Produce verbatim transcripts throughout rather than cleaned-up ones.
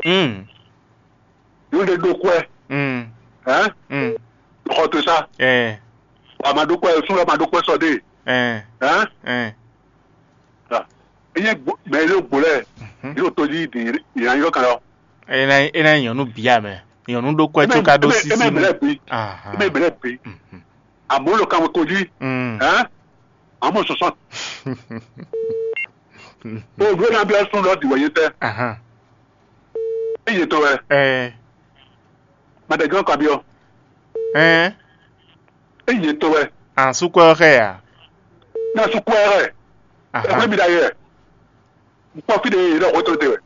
Mm. Yě ɖe ɖó kwɛ. Mm. Hɛn? Mm. Xɔ to sa. Eh. Wa ma ɖó kwɛ, sún wa ma ɖó kwɛ sɔ ɖe. Eh. Hɛn? Eh. Ah. Enye mɛ yɛ ɖo gbo lɛ. Mhm. Yɛ ɖo to jí di yɛ na yɔ kan lɔ. Ena ena nyɔnu bia mɛ. Nyɔnu ɖó kwɛ tó ka ɖó sisi. Eme mɛ lɛ bi. Aha. Eme mɛ lɛ bi. Mhm. Àmọ́ ló ka mo tó jí. Mm. Hɛn? Àmọ́ sɔsɔ. O ɖó na bi asún lɔ di wɛ yé tɛ. Aha. Eye to wɛ. Eh. Madagán ka bi ɔ. Eh. Eye to wɛ. An sukɔ xɛ ya. Na sukɔ xɛ. Aha. Ɛgbẹ́ mi da yɛ. N kpɔ fi de yɛ lɔ xɔ to de wɛ.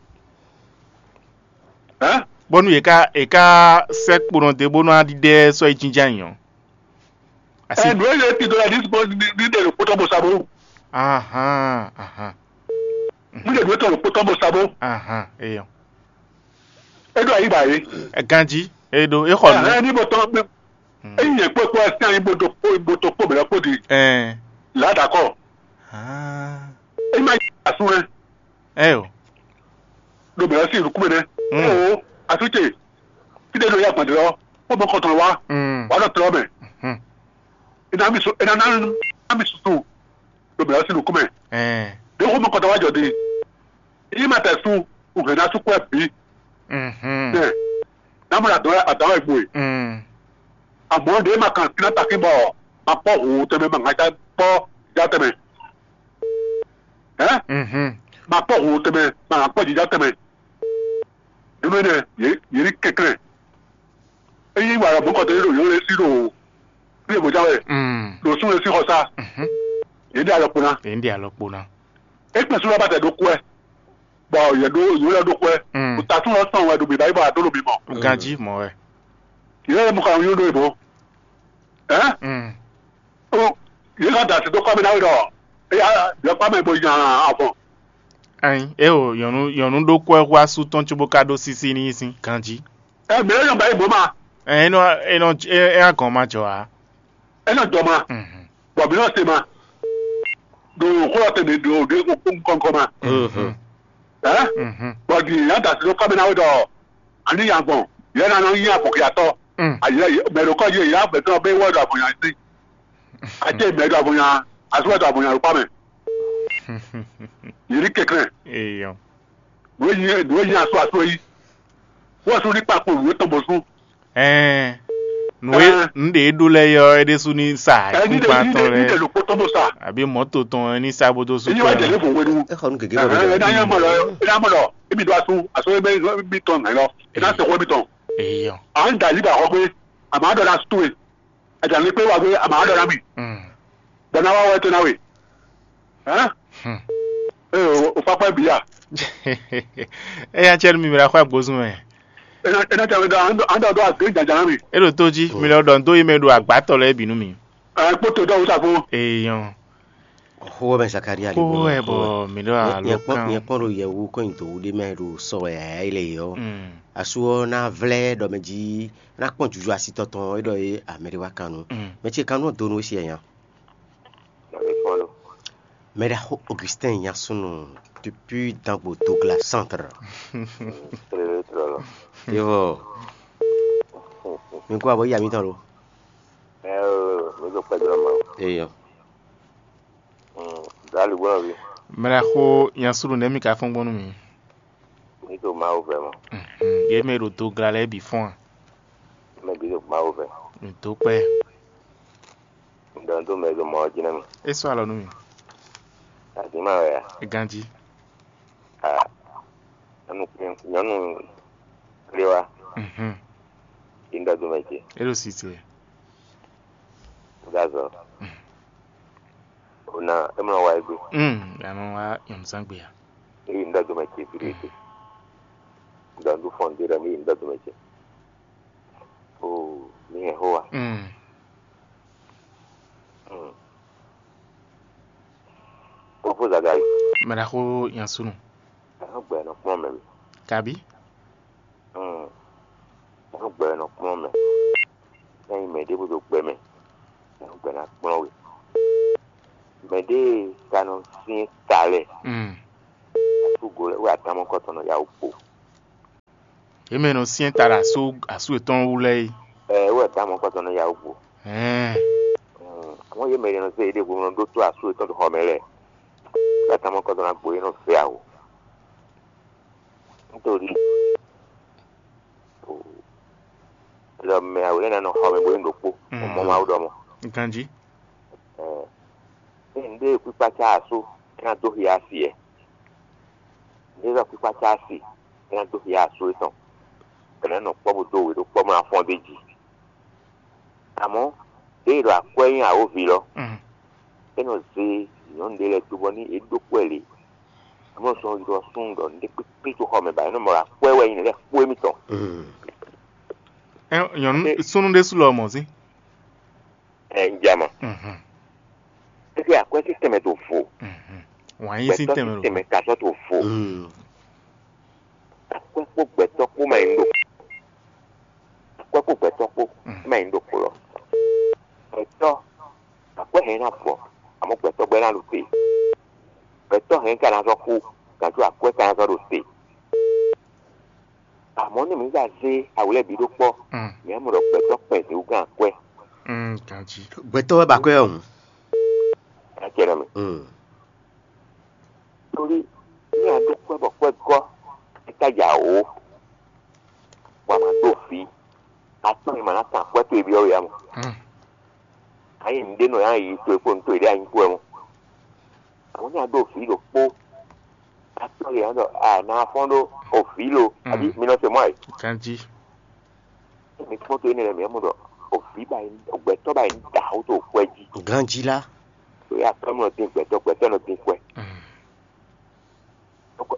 Hɛn? Bɔnu yě ká yě ká sɛ́ kponɔ dé bónú aɖíɖɛ sɔ́ yi jínjɔ́n ayǐ ɔ́. Asi. Ɛ nǔ e yɛ ti dó la ní ní ní ɖe lǒ kpótɔ́ bó sa bó. Ahan, ahan. Ní ɖe nǔ e tɔn lǒ kpótɔ́ bó sa bó. Ahan, eyɔ. É ɖo ayi ba yé. Ganji, e ɖo e xɔ nǔ. Ɛhɛn ní bó tɔn bí. Hmm. Eyi yɛ kpó kpó ɛsɛ anyi bó do kpó bó tó kpó bɛlɛ kpó di. Ɛn. Là d'accord. Ah. E ma yi asu wɛ. Ɛ o. Ɖo bɛlɛ si nukún mɛ nɛ. Hmm. Ɛ o, asu ce. Fi ɖe ɖo ya gbɔn dɔrɔn, kpó mɔ kɔtɔn wa. Hmm. Wa ɖo tɔlɔ mɛ. Hmm. Ina mi su ina na na mi susu. Ɖo bɛlɛ si nukún mɛ. Ɛn. Ɖo kpó mɔ kɔtɔn wa jɔ di. Yi ma tɛ su, u hɛn na su kwɛ bi. Mhm. Ɛ. Na mo na dɔn adɔn egbo e. Mm. Àmọ́ ɖě ma kan kíná takín bɔ ma kpɔ́ hǔn tɛnmɛ ma ŋa já kpɔ́ já tɛnmɛ. Hɛn? Mhm. Ma kpɔ́ hǔn tɛnmɛ ma ŋa kpɔ́ jija tɛnmɛ. Nínú énɛ́ yě yě ní kɛnklɛ́n. Ényí wǎ lɔ mɔ̌kɔtɔn ɖo yǒ lɛ́ɛ sí ɖo bí è bǒjá wɛ Mm. Ɖo sún lɛ́ɛ sí xɔ sá. Mhm. Yě ɖe alɔ kpo ná. Yě ɖe alɔ kpo ná. É kpɛn sú lɔ bá tɛ ɖó kú ɛ. Bɔ yě ɖó yě lɛ́ ɖó kú ɛ. Mm. Kò ta sún lɔ sɔn wɛ ɖo bǐ báyìí bɔ a dó ɖo bǐ mɔ. Ganjí mɔ wɛ. Yě lɛ́ mú xɔ àwọn yóò ɖó ìbò. Ɛ? Mm. Ó, yě ká da sí dó kpá mɛ ná wí ɖɔ éyá yɔ kpá mɛ bó nya avɔn. Ayin, é o nyɔnu nyɔnu ɖó kú ɛ hú asú tɔn cóbó ká ɖó sísí ní sín ganjí. Ɛ mɛ yɔ ba yi bó ma. Ɛ é nɔ é nɔ é é agɔn ma jɔ ǎ. Ɛ nɔ jɔ ma. Mhm. Bɔ mǐ nɔ se ma. Ɖo xó ɔ́ tɛnɛ ɖo ɖo kɔnkɔn ma. Mhm. Ɛ? Mhm. Bɔ di yě ná da sí dó kpá mɛ ná wí ɖɔ àní nya avɔn yě ná nɔ nyí avɔn xyatɔ́. Mm. Ayɛ mɛ ɖo kɔ́ yé yá gbɛtɔ́ bɛ wɛ ɖo avɔnya sí. Ate mɛ ɖo avɔnya, asu wɛ ɖo avɔnya ɖo kpá mɛ. Yě ní kɛnklɛ́n. Eyɔ. Nǔ e nyi nǔ e nyi asu asu é yí. Wɔ su ní kpakpo nǔ e tɔn bɔ sú. Ɛɛ. Nǔ e Ɛɛ. Nǔ ɖe e ɖó lɛ́ɛ yɔ é ɖésú ní sa Ɛ ní ɖe kúkpa ní tɔn ɖe ní ɖe lɛ́ɛ. Lǒkpó tɔn bó sa. Àbí mɔ̌to tɔn ní sá bó dó sú Èyí wá kpɛ́ jẹ ná. Lévo wenu. É xɔ nú gěgé Ɛ bɔ ɛ ná yẹn mɔ lɔ ẹ ná mɔ lɔ émi ɖo asu asu ẹ bẹ émi tɔn nà lɔ ẹ ná sɛ xɔ émi tɔn. Eyɔ. À ń dà yí bà xɔ pé àmọ́ àdó la sú ẹ. Àjàní pé wà pé àmọ́ àdó la mi. Mm. Bọ̀nà wa wọ ètò náà wè. Ẹ́ Hmm. Ẹ ò ò fapá bìyà. Eya tsɛ nu mi mla xɔ agbozun mɛ. Ẹ ná ẹ ná tẹ àwọn àdó àdó àgbé jàjà náà mi. E ɖo to jí, mi lɛ ɖɔ ndo yi mɛ ɖo agbatɔ lɛ binu mi. Ẹ kpótó dɔwú sàkó. Eyɔn. Xó ɔ́ mɛ Zakaria Xó lǐgbɔ́ wɛ bɔ mi ɖo alo nyɛ kpɔ́n kan. Nyɛ kpɔ́n ɖo yɛ̌wú kɔn nyi dǒwú ɖé mɛ ɖo sɔ wɛ yǎyá yi le yɔ́. Mm. Asú ɔ́ ná vlɛ́ ɖɔ mɛ jí ná kpɔ́n juju asitɔ tɔn é ɖɔ é amɛ ɖé wá kan nu. Mm. Mɛ ce kan nú ɔ́ donu é siɛ nya. Mɛ ɖaxó Augustin nya súnnu depuis Dangbo Douglas Centre. Yevɔ. Mi kó abɔ yíyá mi tɔn lo. Ẹ ẹ mi tó pẹ́ jọ ma. Eyɔ. Dali gbọ́dọ̀ bí. Mɛ ɖaxó nya súnnu nɛ̌ mi ka fɔ́n gbɔn nú mi? Mi tó Mawu vɛ mɔ. Mhm. Yě mɛ ɖo do gla lɛ́ɛ bǐ fɔ́n a? Mɛ bǐ tó Mawu vɛ. Mi dó kpɛ́. Ŋdɔ tó mɛ ɖo mɔ ɔ́ jí ná mi. É sɔ́ alɔ nú mi. Azǐn ma wɛ a? É ganjí. A nyɔnu nyɔnu kplé wa. Mhm. Yě ń dɔ do mɛ ce. É ɖo si ce. Gazɔ. Mm. Ona emlɔ wa egbe. Mm, ya nɔ wá nyɔnuzangbe ya. Eyi ŋdɔ do mɛ ce fi ɖe te. Ŋdɔ ŋdu fɔn de ɖɔ mi yi ŋdɔ do mɛ ce. O mi hɛn xó wa. Mm. Mm. Fofo Zakayi. Mɛ ɖaxó nya súnnu. Ɛhɔn gbɛ nɔ kplɔn mɛ mi. Kabi? Hmm. Nɔ gbɛ nɔ kplɔ́n mɛ. Ényí mɛ ɖěbǔ ɖo gbɛ mɛ, nɔ gbɛ ná kplɔ́n we. Mɛ ɖěe ka nɔ syɛ́n ta lɛ́ɛ, Mm. asúgo lɛ́ɛ wɛ atamɔkɔ́tɔn nɔ yá wǔ kpo. Yě mɛ e nɔ syɛ́n ta ɖo asú asú yětɔn wú lɛ́ɛ é. Ɛ wɛ dǎ mɔ kpɔtɔ nɔ ya wú gbo. Ɛɛ. Àwọn yě mɛ e nɔ zé yěɖée hwenu ɖó tó asú yětɔn ɖo xɔ mɛ lɛ́ɛ. Wɛ dǎ mɔ kpɔtɔ nɔ gbo yě nɔ zé awo. Nítorí ɖɔ mɛ awo lɛ́ɛ ná nɔ xɔ mɛ bó nyí ɖokpó. Mɔ Mawu ɖɔ mɔ. Ganjí. Ɛ ní nǔɖé kpíkpácá asú é ná dó xia asi ɛ. Nǔɖé zɔ kpíkpácá asi é ná dó xia asú étɔn. Kɛnɛ nɔ kpɔ́ bó dó wě ɖó kpɔ́ bó ná fɔ́n dó jí. Amɔ̌, ɖěe ɖo akwɛ́ nyi awǒvi lɔ, é nɔ zé nyɔ̌nu ɖé lɛ́ɛ dó bɔ ní é ɖó kpɛ́ lě. Amɔ̌ sɔ́ ylɔ́ súnnu ɖɔ nǔɖé kpékpé tó xɔ mɛ ba é nɔ mɔ ɖɔ akwɛ́ wɛ nyí nǔ lɛ́ɛ kpó émítɔn. Ɛ, nyɔ̌nu súnnu ɖésú lɔ mɔ̌ sín. Ɛ, un ja ma. Éɖée akwɛ́ sín tɛnmɛ to vo. Wǎn yí sín gbɛtɔ́ tɛnmɛ sín lo. Tɛnmɛ ka sɔ́ to vo. Akwɛ́ kpó gbɛtɔ́ kpó ma nyí ɖo akwɛ́ kpó gbɛtɔ́ kpó ma nyí ɖo kpo lɔ. Gbɛtɔ́, akwɛ́ hɛn ná vɔ, amɔ̌ gbɛtɔ́ gbɛ́ ná ɖo te. Gbɛtɔ́ hɛn ka ná sɔ́ kú, gǎnjú akwɛ́ ka ná sɔ́ ɖo te. Amɔ̌ nú mǐ za zé awǔ lɛ́ɛ bǐ ɖó kpɔ́, mǐ á mɔ ɖɔ gbɛtɔ́ kpɛn zěwúgán akwɛ́. Ganjí. Gbɛtɔ́ wɛ ba kwɛ́ ɔ́ hǔn. Acɛ nɔ mì. Tóli ní a ɖó kwɛ́ bɔ kwɛ́ gɔ́, é ka ja wǒ, bɔ a ma ɖó vǐ, atɔ́ e ma ná kan akwɛ́ towe byɔ́ we ǎ mɔ. Ayi nǔɖé nɔ yá yi towe kpó nǔ towe ɖé anyi kpó wɛ mɔ. Àwọn ní a ɖó vǐ ɖokpó, atɔ́ e ǎ ɖɔ a nǎ fɔ́n ɖó o vǐ lo, àbí mi nɔ se mɔ ɛ. Ganjí. Mi kpɔ́n tó énɛ́ lɛ́ɛ mǐ mɔ ɖɔ o vǐ ba yi, o gbɛtɔ́ ba yi da xó to kwɛ́ jí. Ganjí lá. Ɖó ya kpɛ́ nɔ dín gbɛtɔ́, gbɛtɔ́ nɔ dín kwɛ́.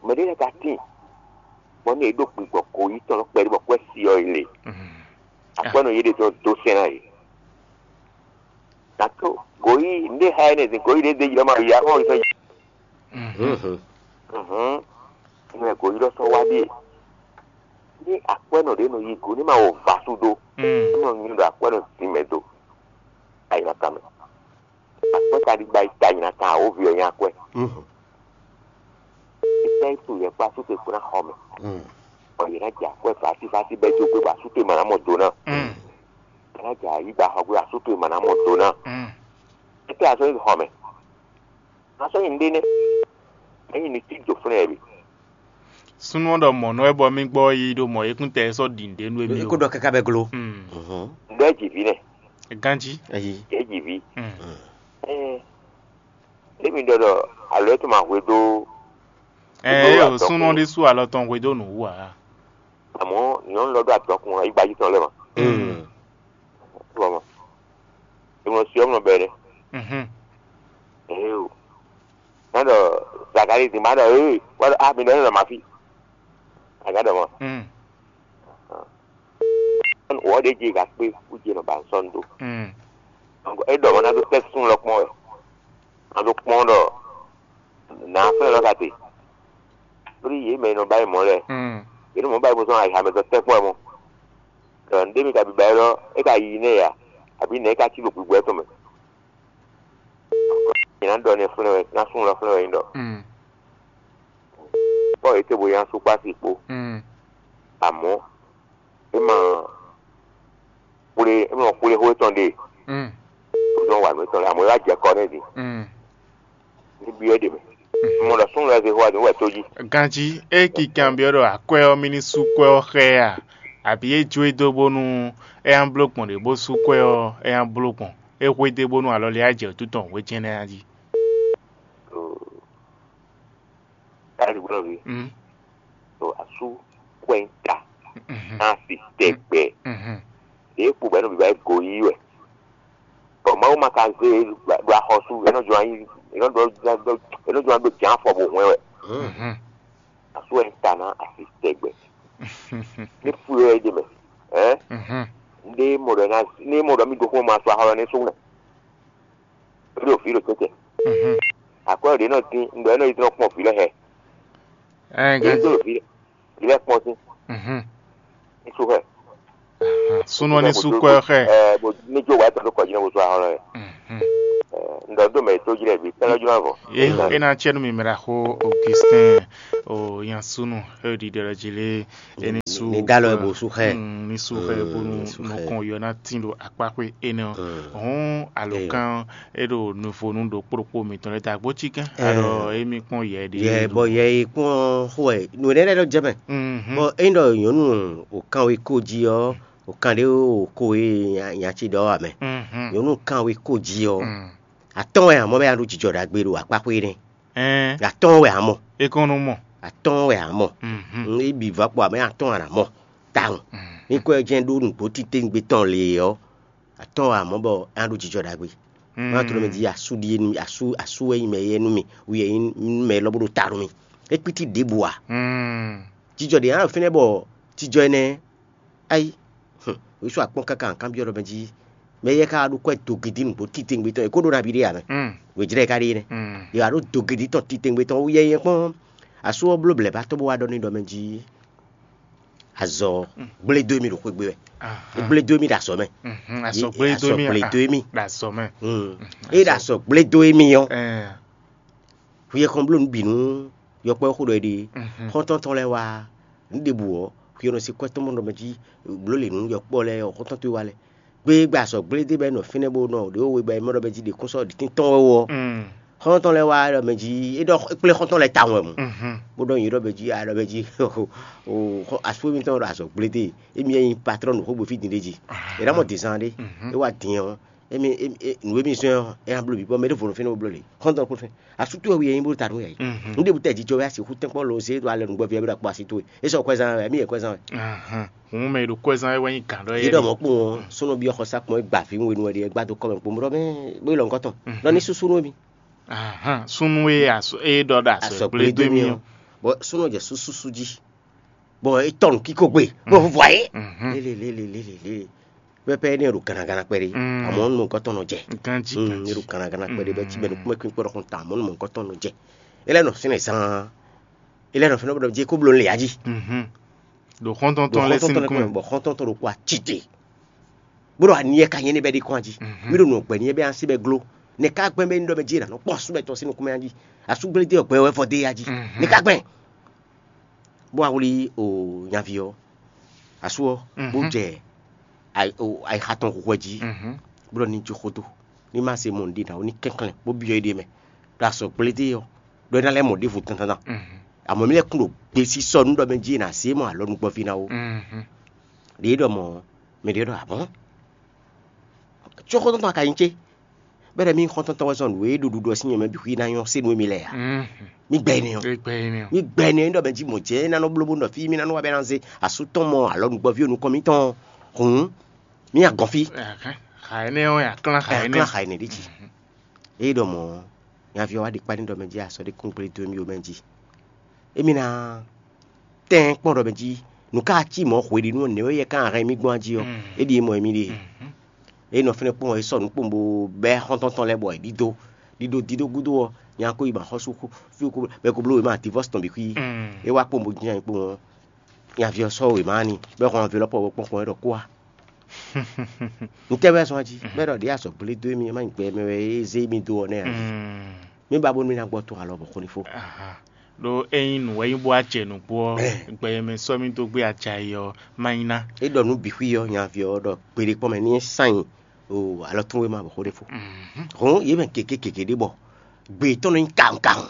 Mɛ ɖé lɛ́ɛ ka tíin, bɔ ní è ɖó gbigbɔ kǒ yi tɔn nɔ kpɛɖé bɔ kwɛ́ si ɔ́ yi le. Akwɛ́nɔ yě ɖe tɔn dó sɛn ná yě. Nǎ tó gǒ yi nǔɖé xa énɛ́ zin gǒ yi ɖě dé yi lɔ ma yi axɔ́ yi sɔ́ yi. Hǔn, nú ɛ gǒ yi lɔ sɔ́ wá ɖíe. Ní akwɛ́nɔ ɖě nɔ yi gǒ ní ma wɔ vǎ sú dó, ní nɔ nyi ɖɔ akwɛ́nɔ dín mɛ do. Ayǐ ná ka mɛ. Akpɔ́ kaɖigba yi ta nyi ná kan awǒvi ɔ́ nyí akwɛ́. Étɛ́ to yɛ kpó asú towe kpó ná xɔ mɛ, bɔ yě ná jɛ akwɛ́ vásívásí bɛ́ jó gbé bɔ asú towe ma ná mɔ do ná. Yě ná jɛ ayǐgba xɔ gbé bɔ asú towe ma ná mɔ do ná. Étɛ́ a sɔ́ yi xɔ mɛ? A sɔ́ yi nǔɖé nɛ́. Ényí ní cí jǒ flɛ́n ɛ bǐ. Súnnu ɔ́ ɖɔ mɔ̌ nú wɛ bɔ mì gbɔ yi ɖo mɔ̌ yěkúntɛ sɔ́ ɖi nǔɖé nú émí. Kó ɖɔ káká bɛ glo. Nǔɖé jǐví nɛ. Ganjí. Yě jǐví. Émi ɖɔ ɖɔ alo é tún ma hwedó. Ɛɛ, súnnu ɔ́ ɖésú alɔ tɔn hwedó nǔ wú ǎ. Àmọ́ nyɔ̌nu lɔ ɖó adɔkun ayígbají tɔn lɛ́ɛ ma. Bɔ mɔ, è mɔ si ɔ́ mɔ bɛ́ ɖɛ. Ɛɛ o, má ɖɔ Zakalíi din má ɖɔ ee, wá ɖɔ a mi ɖɔ nɔ ma fí. Aga ɖɔ mɔ. Wɔ ɖe je ga kpe kú je nɔ ba sɔn do. Donc e ɖɔ mɔ na do tɛ sun lɔ kpɔn wɛ. Na do kpɔn ɖɔ na fɛn lɔ ka te. Lórí yě mɛ nɔ ba yi mɔ lɛ. Yě nɔ mɔ ba yi bó sɔn ayiha mɛ tɔ tɛ kpɔn wɛ mɔ. Ɖɔ nɖé mi ka bi ba yi lɔ, e ka yi nɛ ya, abi nɛ e ka ci ɖo gbigbo ɛtɔn mɛ. Nyina ɖɔ nɛ flɛ́ wɛ, ná sun lɔ flɛ́ wɛ nyí ɖɔ. Kpɔ́ yě te bo nya sú kpá si kpó. Amɔ̌ é ma xwlé é ma xwlé xó étɔn ɖe. Ó zɔn wǎ nú étɔn lɛ amɔ̌ é wá jɛ kɔ nɛ́ din. Ní byɔ́ é ɖe mɛ. Mɔ ɖɔ súnnu lɛ́ɛ zé xó wá din wɛ tó jí. Ganjí é kikan byɔ́ ɖɔ akwɛ́ ɔ́ mì ní sú kwɛ́ ɔ́ xá ɛ a? Abǐ é jó e dó bónú é ná bló gbɔn ɖě bó sú kwɛ́ ɔ́, é ná bló gbɔn. É xwedó bónú alɔ lɛ́ɛ á jɛ wǔtu tɔn wějɛ́nɛ́ ná jí. Káyọ̀dé gbọ́dọ̀ wí. Mm. So asú kwɛ́ ń ta. Mhm. Náà sì tẹ̀gbẹ́. Mhm. Èyí kpó bẹ́ẹ̀ nù bíbá ẹ̀ gò yí wẹ̀. Bɔn Mawu ma ka zé ɖo axɔsú, enɔ jɔ anyi, enɔ jɔ anyi ɖo jǎn afɔ bò hwɛn wɛ. Mhm. Asú ɛ ń ta ná asi tɛgbɛ. Ní fú yɔ é ɖe mɛ. Ɛ? Mhm. Ní mɔ ɖɔ ná, ní mɔ ɖɔ mí ɖokpó ma sɔ axɔ lɔ ní sú nɛ. Ɖo fí ɖo tɛtɛ. Mhm. Akwɛ ɖě nɔ dín, ŋɖɔ é nɔ yi dɔn kpɔn fí lɛ hɛ. Ɛ, é ganji. Dó fí lɛ kpɔn sín. Mhm. Ní sú hɛ. Súnɔ ní sú kɔ ɛ xɛ. Ɛ, bó ní jó wá tɔn ɖó kɔ jí nɔ bó sú axɔ lɔ yɛ. Mhm. Un ɖɔ dó mɛ e tó jlɛ́ bǐ kpɛ́n lɔ́ jló avɔ. É ná cɛ nú mi mɛ ɖaxó Augustin o nyansúnú e ɖiɖe ɖɔ jí lé. É ní sú ní dá lɔ ɛ bó sú xɛ. Ní sú xɛ bónú nukɔn yɔ ná tín ɖo akpáxwé énɛ́ ɔ́. Hɔn alɔkán é ɖo nuvonu ɖokpó ɖokpó mitɔn lɛ́ɛ ta gbó cí gán alɔ émí kpɔ́n yɛ ɖi. Yɛ bɔ yɛ yi kpɔ́n xó wɛ nǔ énɛ́ lɛ́ɛ ɖɔ jɛ mɛ. Bɔ é ɖɔ nyɔ̌nu o kanwé ko jí ɔ́, o kan ɖé o ko e nya ci ɖɔ wɛ mɛ. Nyɔ̌nu kanwé ko jí ɔ́, atɔ́n wɛ amɔ̌ bɛ nya ɖó jijɔ ɖagbe ɖo akpáxwé énɛ́. Atɔ́n wɛ amɔ. É kɔn nɔ mɔ. Atɔ́n wɛ amɔ. É bǐ vɔ kpɔ amɛ atɔ́n wɛ amɔ. Tawun. Ní kɔ jɛ́n ɖó nǔgbó titewungbe tɔn lě ɔ́, atɔ́n wɛ amɔ bɔ é ná ɖó jijɔ ɖagbe. Má tló mɛ jí asú ɖíe nú mì, asú asú wɛ nyí mɛ éyɛ́ nú mì, wú yɛ nyí mɛ élɔ́ bó ɖo ta nú mì. É kpítí ɖěbǔ ǎ. Jijɔ ɖě ná ɖo fínɛ́ bɔ jijɔ énɛ́ Ayi, hǔn, wěsu akpɔ́n káká kanbyɔ́ ɖɔ mɛ jí mɛ éyɛ́ ka wá ɖó kwɛ́ dogidi nǔgbó titewungbe tɔn è kó ɖó nabí ɖé ǎ mɛ. Wějlɛ́ e ka ɖe é nɛ́. È wǎ ɖó dogidi tɔn titewungbe tɔn wú yɛ́yɛ́ kpɔ́n. Asú ɔ́ bló blɛ̌ ba tó bó wá ɖɔ n'i ɖɔ mɛ jí azɔ gblé dó émí ɖo xwé gbe wɛ. É gblé dó émí ɖo azɔ̌ mɛ. Azɔ gblé dó émí ɖo azɔ̌ mɛ. É ɖo azɔ gblé dó émí ɔ́, hwi e kɔn bló nǔ bǐ nú yɔkpɔ́ xó ɖɔ é ɖe. Xɔ́ntɔn tɔn lɛ́ɛ wá nǔ ɖěbǔ ɔ́, hwi e nɔ se kwɛ́ tɔn mɔ ɖɔ mɛ jí bló lě nú yɔkpɔ́ lɛ́ɛ ɔ́, xɔ́ntɔn towe wá lɛ́ɛ. Gbé gbɛ azɔ̌ gblé dé bɔ é nɔ fínɛ́ bó nɔ ɖě we bɔ é mɔ ɖɔ mɛ jí ɖě kún sɔ́ ɖǐtín tɔn wɛ ɔ́. Xɔ́ntɔn lɛ́ɛ wá ɖɔ mɛ jí é ɖɔ é kplé xɔ́ntɔn lɛ́ɛ tawun wɛ mɔ̌. Bó ɖɔ nyǐ ɖɔ mɛ jí a ɖɔ mɛ jí asú émítɔn ɖo azɔ̌ gblé dé, émí wɛ nyí patrɔ́n nǔxógbó fí din ɖé jí. È ná mɔ dǐnzán ɖé, é wá din ɔ́, émi nǔ e mì zɔ́n ɔ́, é ná bló bǐ bɔ mɛ ɖěvo nɔ fínɛ́ bó bló lě. Xɔ́ntɔn kún fɛ́n. Asú towe hu yɛ nyí bó ta nú yɛ yìí. Nǔ ɖěbǔ tɛ jijɔ wɛ a sixú tɛ́nkpɔ́n lo zé ɖo alɛ nǔgbɛ́ví ɔ́ bó ɖo akpó así towe. É sɔ kwɛ́zán wɛ, émí yɛ kwɛ́zán wɛ. Hǔn mɛ e ɖo kwɛ́zán wɛ wɛ nyí gǎn ɖɔ Yě ɖɔ mɔ̌ kpowun ɔ́, súnnu byɔ́ xɔsá kpɔn é gba vǐ we nú wɛ ɖi é gbá dó kɔ́ mɛ kpowun bó ɖɔ mɛ bó yi lɔ nukɔn tɔn. Ɖɔ ní súsú nú émi. Súnnu e é ɖɔ ɖo asɔ gblé dó émí ɔ́. Bɔ súnnu jɛ súsúsú jí. Bɔ é tɔ nǔ kíkó gbe bó vɔ ayé. Lélelélelélele. Pɛpɛ énɛ́ ɖo gannagana kpɛɖé. Amɔ̌ nú mɔ̌kɔtɔn nɔ jɛ. Ganjí Mm, ganjí. Ɖo gannagana kpɛɖé bɛ tí bɛ nukúnmɛ kpínkpɔ́ ɖɔ xɔn ta amɔ̌ nú mɔ̌kɔtɔn nɔ jɛ. É lɛ́ nɔ fínɛ́ zaan. É lɛ́ nɔ fínɛ́ bɔ jɛ kó bló lě ají. Mhm. Ɖo xɔ́ntɔn Ɖo tɔn lɛ́ɛ sín xɔ́ntɔn tɔn nukúnmɛ. Bɔ xɔ́ntɔn tɔn ɖo kó acite. Bó ɖo aniyɛ ka nyɛ ní bɛ ɖi kɔn ají. Mhm. Mí ɖo nǔ gbɛ ní bɛ asi bɛ gló. Nɛ ka gbɛn bɛ ní ɖɔ bɛ jí nǎ nɔ kpɔ́n asú bɛ tɔn sín nukúnmɛ ají. Asú gblé dé ɔgbɛ wɛ vɔ dé ají. Mhm. Nɛ ka gbɛn. Bó wá wlí o nyaví ɔ́, asú ɔ́, bó Mhm. jɛ ayi- o- ayixa tɔn xwɛ jí, Mhm. bó ɖɔ ní jó xódó, ní má se mɔ nǔɖé ná ó ní kɛnklɛ́n bó byɔ́ éɖée mɛ, ɖo azɔ̌ gblé dé ɔ́, ɖɔ é ná lɛ́ mɔ ɖěvo dandandan. Mhm. Àmọ́ mí lɛ́ kún ɖo gbesisɔ nú ɖɔ mɛ jí è nǎ se mɔ alɔ nukpɔ́ví ná ó. Mhm. Ɖě ɖɔ mɔ̌, mɛ ɖě ɖɔ abɔ̌n. Có xɔ́ntɔn tɔn ka nyí cé? Bɛ́ ɖɔ mí xɔ́ntɔn tɔn wɛ zɔn nǔ e ɖo ɖuɖu ɔ́ sín nyɛ mɛ bǐ xwí ná nyɔ́ se nú émí lɛ́ɛ ǎ. Mhm. Mí gbɛ énɛ́ ɔ́. Égbɛ́ énɛ́ ɔ́. Mí gbɛ énɛ́ ɔ́, nyí ɖɔ mɛ jí mɔ̌ jɛ́n é ná nɔ bló bó nɔ fí mí ná nɔ wá bɛ́ ná zé asú tɔn mɔ alɔ nukpɔ́ví o nukɔn mítɔn ɔ́. Hǔn mí agɔn fí. Xa énɛ́ ɔ́, aklán xa Ɛ énɛ́. Klán xa énɛ́ ɖi jí. Ée ɖɔ mɔ̌, nyaví ɔ́ wá ɖi kpá ní ɖɔ mɛ jí asɔ ɖé kún gblé dó émí o mɛ jí. Émí ná tɛ́n kpɔ́n ɖɔ mɛ jí nǔ ká cí mɔ̌ hweɖínu ɔ́, nɛ̌ wɛ yɛ ká hɛn mì gbɔn jí ɔ́, é ɖíe mɔ émí ɖe. É nɔ fɛ́nɛ kpɔ́n ɔ́, é sɔ́ nǔ kpowun bó bɛ́ xɔ́ntɔn tɔn lɛ́ɛ bɔ è ɖídó. Ɖiɖo dídó gúdo ɔ́, nya ko yi ma xɔ́sú xú fí ko bɛ ko bló wěma divɔ́si tɔn bǐ xwí. É wá kpowun bó jínjɔ́n ayǐ kpowun ɔ́, nyaví ɔ́ sɔ́ wěma ɔ́ n'i, bɔ é hɔn anvilɔ́pɔ ɔ́ bó kpɔ́n kpɔ́n é ɖɔ kó wá. Ntɛ́ wɛ zɔn jí, bɔ é ɖɔ ɖě azɔ̌ gblé dó émí, é má nyí gbɛ mɛ wɛ é zé émí dó ɔ́ nɛ́ ǎ. Mí ba bónú mí ná gbɔ tɔn alɔ bɔ xó ní fó. Aha. Ɖó ényí nǔ wɛ nyí bó wá jɛ nǔgbó ɔ́, gbɛ e mɛ sɔ́ mì dó gbé ajayi ɔ́, má nyí ná. É ɖɔ nǔ bǐ xwí ɔ́, nyaví ɔ́ ɖɔ gbeɖé kpɔ́n mɛ ní é sán nyi o alɔ tún wéma bɔ xó ɖé fó. Hɔn yě mɛ gěgé gěgé ɖé bɔ gbe tɔn nɔ nyí kawun kawun.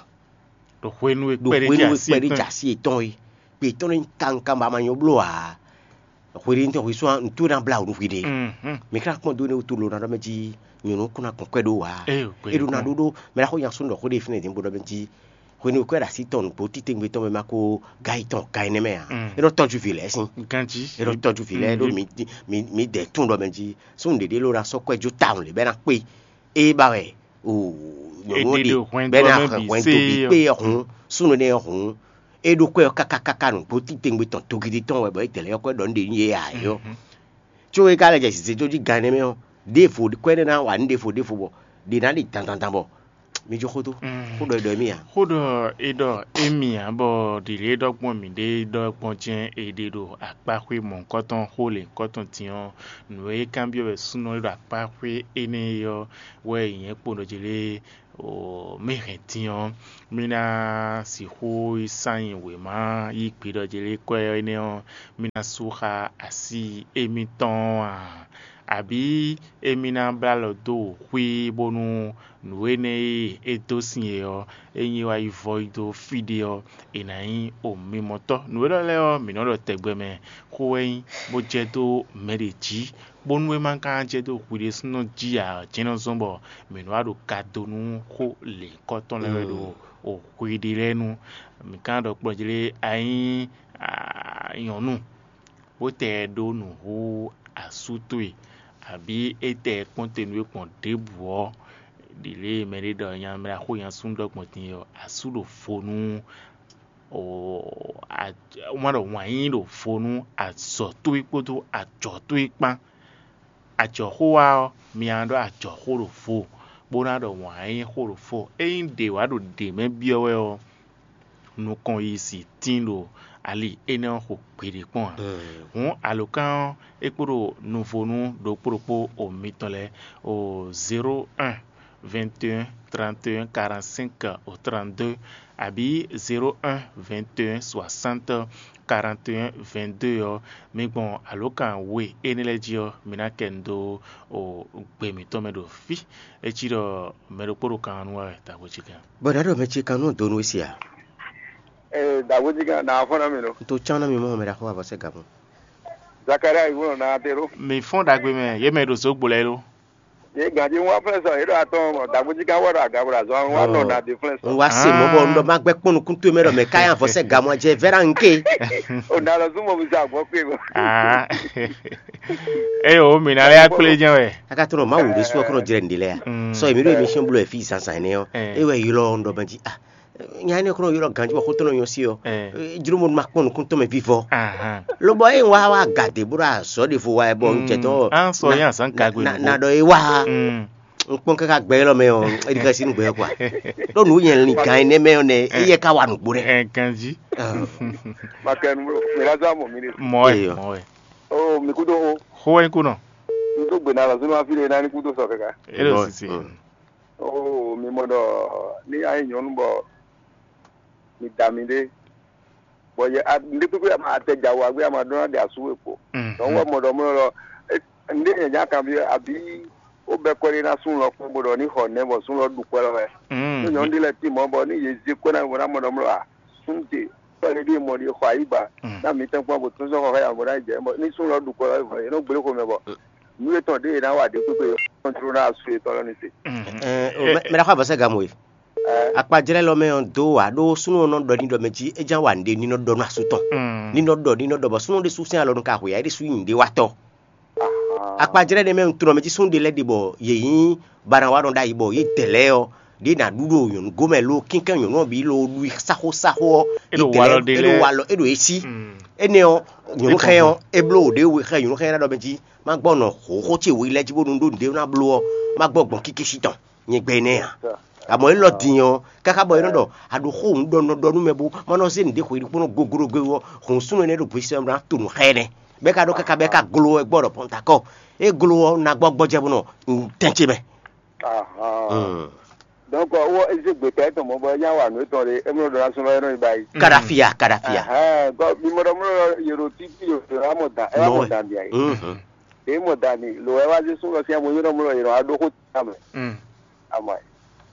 Ɖo hwenu e ɖo kpɛɖé hwenu e jɛ kpɛɖé asi jɛ asi yětɔn é. Gbe tɔn nɔ nyí kawun kawun bɔ a ma nyɔ bló ǎ. Hweɖénu tɔn hwesú ɔ́, nǔ towe ná blá wǔ nú hwi ɖe. Mǐ ka ná kpɔ́n dó énɛ́ wútu lo ná ɖɔ mɛ jí nyɔ̌nu kún ná gbɔn kwɛ́ ɖó ǎ. É ɖo ná ɖó ɖó mɛ ná xo nya súnnu ɖɔ xó ɖé fínɛ́ dín bó ɖɔ mɛ jí hwenu e kwɛ́ ɖo así tɔn nǔgbó títewungbe tɔn mɛ ma ko ga yi tɔn ga énɛ́ mɛ ǎ. É nɔ tɔ́jú vǐ lɛ́ɛ sín. Ganjí. É nɔ tɔ́jú vǐ lɛ́ɛ ɖó mǐ mǐ mǐ dɛ tún ɖɔ mɛ jí súnnu ɖěɖé ló ná sɔ́ kwɛ́ jó tawun lě bɔ é ná kpé. É ba wɛ o nyɔ̌nu È ɖe ɖe ɖe hwɛndo bɔ é ná ɔ́ mɛ hɛn bǐ hwɛndo sé bǐ ɔ́. Kpé ɔ́ hǔn súnnu énɛ́ ɔ́ hǔn é ɖó kwɛ́ ɔ́ káká káká nǔgbó títewungbe tɔn togidi tɔn wɛ bɔ é dɛ̌ lɛ́ ɔ́ kwɛ́ ɖɔ nú ɖe nú yě ǎ é ɔ́. Có é ka lɛ́ jɛ zǐzéjó jí gan énɛ́ mɛ ɔ́, ɖěvo kwɛ́ énɛ́ ná wa nǔ ɖěvo ɖěvo bɔ ɖě ná ɖi dandandan bɔ Mi jó xó tó. Xó ɖɔ è ɖɔ émí ǎ. Xó ɖɔ è ɖɔ émí ǎ, bɔ ɖiɖě ɖɔ gbɔn mǐɖée ɖɔ gbɔn jɛ́n è ɖe ɖo akpáxwé mɔ̌hunkɔtɔn xó lěhunkɔtɔn din ɔ́, nǔ e kanbyɔ́ wɛ súnnu ɔ́ ɖo akpáxwé énɛ́ é ɔ́ wɛ è nyɛ̌ kpo ɖɔ jí lé. Mǐ hɛn din ɔ́, mí ná sixú yi sán nyi wěma yí gbe ɖɔ jí lé kwɛ́ énɛ́ ɔ́, mí ná sú xá así émítɔn ɔ́ a? Abǐ émí ná blá alɔ dó wǔ xwí bónú nǔ énɛ́ e é dó sin e ɔ́, ényí é wá yi vɔ yi dó fí ɖé ɔ́, è nǎ nyí omimɔtɔ́. Nǔ élɔ́ lɛ́ɛ ɔ́, mǐ nɔ́ ɖɔ tɛgbɛ mɛ xó wɛ nyí, bó jɛ dó mɛ ɖě jí, bónú é ma ka jɛ dó hwi ɖésúnɔ jí ǎ, jɛ́n nɔ zɔ́n bɔ mǐ nɔ́ wá ɖo ka dó nú xó lěhunkɔtɔn lɛ́ɛ wɛ ɖo hwi ɖé lɛ́ɛ nu. Mǐ ka ɖɔ kplɔ́n jí lé a nyí nyɔ̌nu, bó tɛ ɖó nǔ hú asú towe, abǐ é tɛ kpɔ́n te nú we gbɔn ɖěbǔ ɔ́, ɖi lě e mɛɖé ɖɔ nya mɛ xó nya súnnu ɖɔ gbɔn din ɔ́, asú ɖo vo nú wá ɖɔ wǎn yíyí ɖo vo nú azɔ̌ towe kpódó ajɔ̌ towe kpán. Ajɔ̌xó wá ɔ́, mi ná ɖɔ ajɔ̌xó ɖo vo, bó ná ɖɔ wǎn yíyí xó ɖo vo. Ényí ɖě wá ɖo ɖě mɛ byɔ́ wɛ ɔ́, nukɔn yi si tín ɖo ali énɛ́ ɔ́ xo gbeɖé kpɔ́n ǎ. Hǔn alǒkan ɔ́, é kpo ɖo nuvonu ɖokpó ɖokpó o mitɔn lɛ́ɛ o zéro un, vingt et un, trente et un, quarante-cinq au trente-deux, abǐ zéro un, vingt et un, soixante, quarante et un, vingt-deux ɔ́, mi gbɔn alǒkan we énɛ́ lɛ́ɛ jí ɔ́, mi ná kɛ nu dó o gbe mǐtɔn mɛ ɖo fí. É cí ɖɔ mɛ ɖokpó ɖo kan ɔ́ nu wɛ wɛ, dǎgbó cí kan. Bɔ ɖǎ ɖɔ mɛ ce kan nú donu wé si a? Ee, dǎgbó cí kan, nǎ fɔ́n ná mi lo. N to cán ná mi mɔ mɛ ɖaxó avɔ sɛ gǎn mɔ. Zakaria yi wlɔ na te ɖo. Mi fɔ́n ɖagbe mɛ, yě mɛ ɖo zǒgbo lɛ́ɛ lo. Yě ganjí wá flɛ́ sɔ, yě ɖo atɔn mɔ, dǎgbó cí kan wɔ ɖo aga bɔ ɖo azɔn wá nɔ na de flɛ́ sɔ. N wá se mɔ bɔ n ɖɔ má gbɛ kpɔn nukún towe mɛ ɖɔ mɛ káyà avɔ sɛ gǎn mɔ jɛ vɛ́ ɖa n ké. O na lɔ zún mɔ mi sa gbɔ kpe mɔ. Ah. Eye o mi na lɛ akplé jɛn wɛ. A ka tɔnɔ ma wò ɖe sɔ kɔnɔ jrɛ nɖe lɛ ya. Sɔ emi ɖo émission blo fi zazan ne ɔ. E wɛ ylɔ n ɖɔ mɛ jí ah. Nya ne kɔnɔ ylɔ ganji bɔ xotɔnɔ yɔ si ɔ. Jlo mo ma kpɔn nukun tɔn mɛ vivɔ. Lobɔ e wa wa gade bro azɔ de vo wa bɔ n jɛ tɔ. An sɔ yẹn azan gagbe. Na dɔ e wa. N kpɔn kaka gbɛ ylɔ mɛ ɔ, e di ka si nu gbɛ kɔ. Ɖo nu yɛn lin gan ne mɛ ɔ nɛ, e yɛ ka wa nugbo dɛ. Ɛ ganji. Makɛnu bro, mi la zɔ amɔ mi de. Mɔ ɛ, mɔ ɛ. O mi kudo o. Xo ɛ kunɔ. N tó gbè na lɔ sínú afi ɖe nání kúdó sɔ kɛkɛ. E ɖo sisi. Oo, mi mɔ ɖɔ ní a nyí nyɔ̌nu bɔ mi da mi ɖé, bɔ yɛ a- nɖé kpékpé a ma tɛ dza wɔ agbé a ma ɖó ná ɖe asú we kpo. Donc wɔ mɔ ɖɔ mɔ lɔ nɖé nyɛ nya kan bi abi wo bɛ kɔ ɖé ná sún lɔ kpɔn bó ɖɔ ní xɔ nɛ bɔ sún lɔ ɖu kɔ lɔ wɛ. Ní nyɔ̌nu ɖé lɛ ti mɔ bɔ ní yě zé kɔ ná bɔ ná mɔ ɖɔ mɔ lɔ a sún te kɔ lɛ ɖé mɔ ɖé xɔ ayígba ná mi tɛn kpɔn bó tún sɔn xɔ xɛ yà bó ná jɛ bɔ ní sún lɔ ɖu kɔ lɔ wɛ vɔ yě nɔ gblé xomɛ bɔ nú etɔn ɖé yě ná wa ɖě kpékpé yě kɔntró ná asú yětɔn lɔ ní se. Mɛ ɖaxɔ avɔsɛ gamu e akpajlɛ lɔ mɛ ɔn do wa ɖó súnú ɔnɔ ɖɔ ní ɖɔ mɛ jí é ján wa nɖe ní nɔ ɖɔ nú asú tɔn ní nɔ ɖɔ ní nɔ ɖɔ bɔ súnú ɖé sú sɛn alɔ nu ka hwe ya é ɖé sú nyi nɖe wa tɔ akpajlɛ ɖe mɛ un trɔ mɛ jí súnú ɖe lɛ ɖe bɔ yě nyí bana wa nɔ ɖ'ayǐ bɔ yě dɛ lɛ ɔ ɖě ná ɖu ɖo nyɔ̌nu gomɛ lo kínkɛ́n nyɔ̌nu ɔ́ bǐ lo ɖu i sáxó sáxó ɔ́ é ɖo walɔ ɖe lɛ́ɛ é ɖo walɔ é ɖo é sí énɛ́ ɔ́ nyɔ̌nu xɛ ɔ́ é bló wǒ ɖé we xɛ nyɔ̌nu xɛ ná ɖɔ mɛ jí má gbɔ nɔ xǒxó ce wǒ yi lɛ́ɛ jí bónú ɖó nǔɖé ná bló ɔ́ má gbɔ gbɔn kíkísí tɔn nyɛ gbɛ énɛ́ ǎ. Amɔ̌ élɔ́ din ɔ́, káká bɔ é nɔ ɖɔ a ɖo xó hǔn ɖɔ nɔ ɖɔ nú mɛ bó má nɔ zé nǔɖé xwe ɖokpónɔ goglogo ɔ́, hǔn súnnu énɛ́ ɖo gbe sɛn ná to nǔ xá ɛ nɛ́. Bɔ é ka ɖó káká bɔ é ka glo ɛ gbɔ ɖɔ pɔntakɔ. É glo ɔ́, ná gbɔ gbɔjɛ bó nɔ tɛn ce mɛ. Donc wɔ ezé gbeta etɔn mɔ bɔ nya wa nǔ etɔn ɖe emlɔ ɖɔ na sɔn lɔ yɛ nɔ yi ba yi. Kadafia, kadafia. Ɛhɛn, bɔ mi mɔ ɖɔ mlɔ yɛ ɖo títí yɛ ɖo amɔ dan ɛ wà mɔ dan dia yi. Ɖe mɔ dan ni lo ɛ wá zé sún lɔ sí amɔ yɛ nɔ mlɔ yɛ nɔ aɖó xó tán mɛ. Amɔ ɛ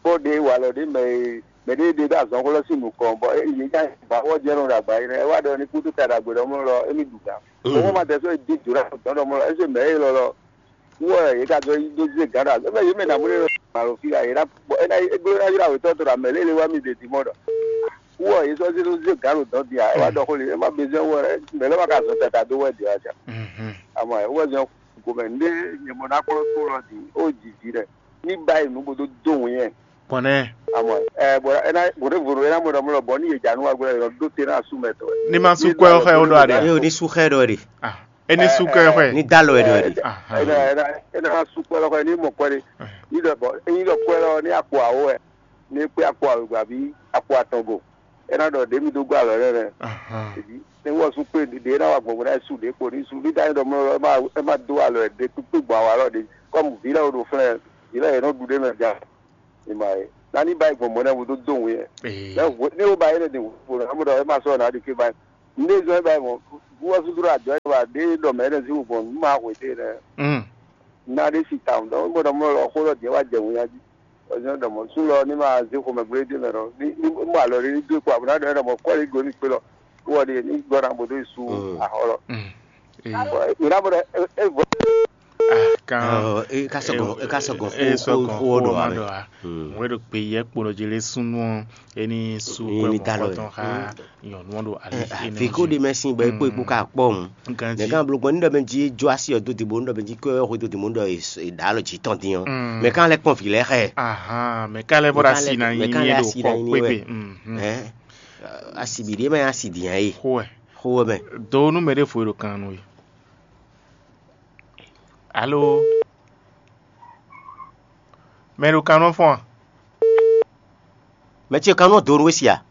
kpɔ ɖe wa lɔ ɖe mɛ e mɛ ɖe ɖe ɖo azɔn xó lɔ sí nukɔn bɔ e yɛ nya ba wɔ jɛ nɔ ɖo agba yi nɛ ɛ wá ɖɔ ni kútu ta ɖagbe ɖɔ mlɔ lɔ emi ɖu gan. Owó ma tɛ sɔ e di jǒ ɖo dɔn ɖɔ mlɔ ɛ sɔ mɛ e lɔ lɔ. Wɔ yě ka dɔ yi dó zé gǎn ɖo azɔ̌ mɛ yě mɛ nǎ mú ɖé nɔ gbǎn ɖo fí ɖa yě ná bɔ é ná é gló ná ylá wětɔ́ tɔn ɖo amɛ lě e wá mi ɖe dǐ mɔ ɖɔ wɔ yě sɔ́ zé dó zé gǎn ɖo dɔ̌n din ǎ é wá ɖɔ xó lě é má bezɔ́ wɔ é mɛ lɛ́ wá ka zɔn tata dó wɛ dě wá jà. Amɔ é wɔ zɔn gomɛ nɖé nyɛ mɔ ná kplɔ́ tó lɔ dǐ ó jǐ jí ɖɛ ní ba yi nǔ bó dó dó wǐn yɛ. Kɔnɛ. Amɔ ɛ bɔ é ná bó ɖé vo ɖo é ná mɔ ɖɔ mɔ ɖɔ bɔ ní yě jà nú wa gbɔdɔ yɔ ɖó te ná asú mɛ tɔ. Ní ma sú kɔ́ ɛ xɛ ó ɖɔ aɖe. Eye o ní sú xɛ ɖɔ ɖe. Ah. Eni su kɛ xwɛ. Ní dá lɔ ɛ ɖɔ ɛ ɖe. Ena ena ena su kpɛlɛ xwɛ ní mɔ kpɛlɛ ní ɖɔ bɔ ní ɖɔ kpɛlɛ ní akpɔ awo wɛ. ní é kpé akpo awěgba bí akpo atɔn go. É ná ɖɔ ɖě mi dó gɔ́ alɔ nɛ́ nɛ́. Ahan. Ebi ne wɔ sú kpé ɖě ná wa gbɔn bó ná su ɖě kpo ní su ní dá nyí ɖɔ mlɔ ɛ má ɛ má dó alɔ ɛ ɖě kpékpé gbɔn awa lɔ ɖě kɔmu vǐ lɛ wo ɖo flɛ́n vǐ lɛ yě nɔ ɖu ɖé mɛ ja. Ìmọ̀ ẹ̀ nání báyìí gbɔn mɔ̌ nɛ́ wo dó dó wǔ yɛ. Ee. Lɛ hwe ní wo ba yé lɛ ɖe wǔ ƒo nǎ mɔ ɖɔ ɛ má sɔ́ nǎ ɖi ké báyìí. Nɖé zɔ́n ɛ báyìí mɔ bú wɔ súdúró àjɔ ɛ wa ɖé ɖɔ mɛ ɛnɛ zí wò gbɔn nǔ ma hwe dé nɛ. Mm. Ná ɖé si tawun ɖɔ mɔ ɖɔ mɔ lɔ xó lɔ jɛ wá jɛ wǔnya jí. Ɔzɔn ɖɔ mɔ sú lɔ ní ma zé xomɛ gblé dé mɛ ɖɔ ní ní mɔ alɔ ɖé ní dó kɔ àbúrò ɖɔ mɔ kɔ́ lé go ní kpé lɔ wɔ ɖé ní gbɔ ná bó dó yi sú Mm. Axɔ lɔ. Mm. Ee. Mǐ ná bó ɖɔ é vɔ. Ah, kan Ɔ, e ka sɔgɔ e ka sɔgɔ e xó sɔgɔ xó xó ɖɔ ma ame. Ɖɔ a. Mm. Wɛ ɖo gbe yɛ kpo ɖo jele súnú ɔ, eni sú Ni kɔ ni mɔ da lɔ kɔtɔn xa nyɔnu ɔ ɖo ali ene. Fi kó ɖe mɛ sin bɔ e kpo e kpo ka kpɔ ŋu. Ganji. Mɛ kan blo gbɔn ní ɖɔ mɛ jí jó asi ɔ dó dìbò ní ɖɔ mɛ jí kó ɔ xó dó dìbò ní ɖɔ e ɖa alɔ jí tɔn dín ɔ. Mm. Mɛ kan lɛ kpɔn vi lɛ xɛ. Ahan, mɛ kan lɛ bɔ ɖo asi na nyi Mɛ kan lɛ ɖo asi na kɔ nyi kpé wɛ. Be. Mm. Ɛ, asi bi ɖe mɛ asi diyan ye. Xó ɛ. Xó ɛ mɛ. Do nú mɛ ɖé fo ɖo kan nú ye. Alo. Mɛ ɖo kan nɔ fɔn a? Mɛ ce kan nɔ do nú we si a?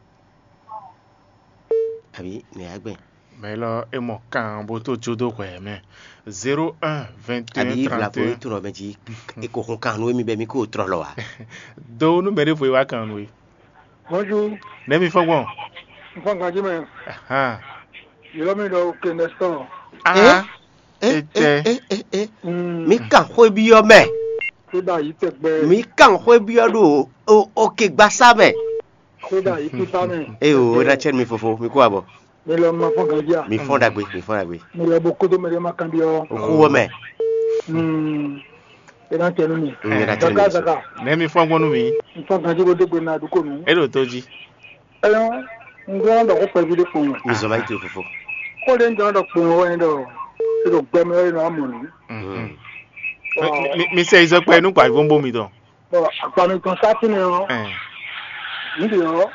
Àbí nɛ yá gbɛn. Mɛ lɔ é mɔ kan bó tó jó dó hwɛ mɛ. Zéro un vingt et un Àbí vlavo trente et un. Tó nɔ mɛ jí e ko hun kan nú emi bɛ mi ko trɔ lɔ wa. Do nú mɛ ɖé fo e wá kan nú e. Bonjour. Nɛ mi fɔ gbɔn. N fɔ ganji mɛ. Ahan. Yɔrɔ mi ɖɔ ke nɛsɔn. Aha. Eh, Etɛ. Eh, eh, eh, eh. Mm. Mi kan xwé byɔ́ mɛ. Kódà yìí tẹgbẹ́. Mi kan xwé byɔ́ ɖo o o ke gbasa mɛ. Kódà yìí pípa mɛ. Eye o na tsɛ mi fofo mi kó abɔ. Mi lɔ ma fɔ ganji a. Mi fɔn dagbe mi fɔn dagbe. Mi lɔ bo kodo mɛ ɖe ma kan byɔ́. O kú wɔ mɛ. Mm. E na tsɛ nu mi. Mm, e na tsɛ nu mi. Zaka zaka. Nɛ mi fɔn gbɔn nú mi. N fɔ ganji bo dé gbe na dúkò nu. E ɖo tó jí. Ɛyɔ, n gbɔ ɖɔ ko kpɛví ɖé kpɔn. Mi zɔn ma yi to fofo. Ko ɖe n jɔ ɖɔ kpɔn wɛ ɖɔ e ɖo gbɛmɛ wɛ nɔ amɔ nu. Mhm. Mi- mi- mi sɛ izɔkpɛ nu kpa vɔn bo mi dɔn. Bɔn agba mi tɔn sá fínɛ ɔ. Ɛn. N de ɔ.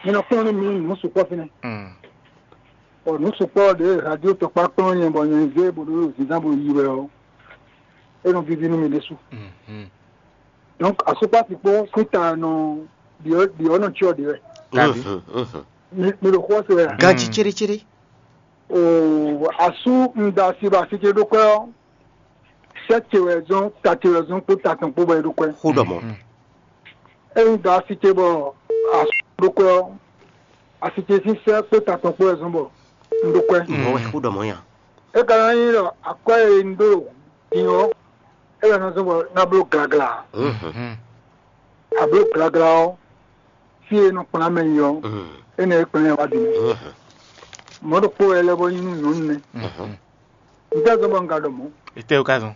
Mi nɔ kplɔn ní mi nù sukpɔ fínɛ. Mm. Bɔn nù sukpɔ ɖe radio tɔkpa kplɔn nyɛ bɔ nyɛ zé bo ɖo zinzan bo yi wɛ ɔ. E nɔ vivi nú mi ɖésú. Mhm. Donc asukpasi kpó síta nɔ ɖiɔ ɖiɔ nɔ tsyɔ ɖe wɛ. Kabi. Mhm, mhm. Mi mi ɖo xɔ se wɛ. Ganji Mm. Cérécéré. O asu ŋda si ba si ce ɖo kwɛ ɔ. Sɛ ce wɛ zɔn ta ce wɛ zɔn kpó ta tɔn kpó bɔ e ɖo kwɛ. Xó ɖɔ mɔ. Mm. E ŋda si ce bɔ asu ɖo kwɛ ɔ. Asi ce sín sɛ kpó ta tɔn kpó wɛ zɔn bɔ un ɖo kwɛ. Mɔ wɛ xó ɖɔ mɔ nya. E ka ná nyí ɖɔ akwɛ́ e un ɖo din ɔ́, é wɛ nɔ zɔ́n bɔ ná bló glagla. Mhm. Abló glagla ɔ́, fí e nɔ kplán mɛ yi ɔ́, énɛ́ é kplán ɛ wá din. Mɔ̌ ɖokpó wɛ é lɛ́ bó nyí nú nyɔ̌nu nɛ́. Mhm. Un tɛ́ zɔ́n bɔ un ka ɖɔ mɔ̌. Etɛ́ wú ka zɔn?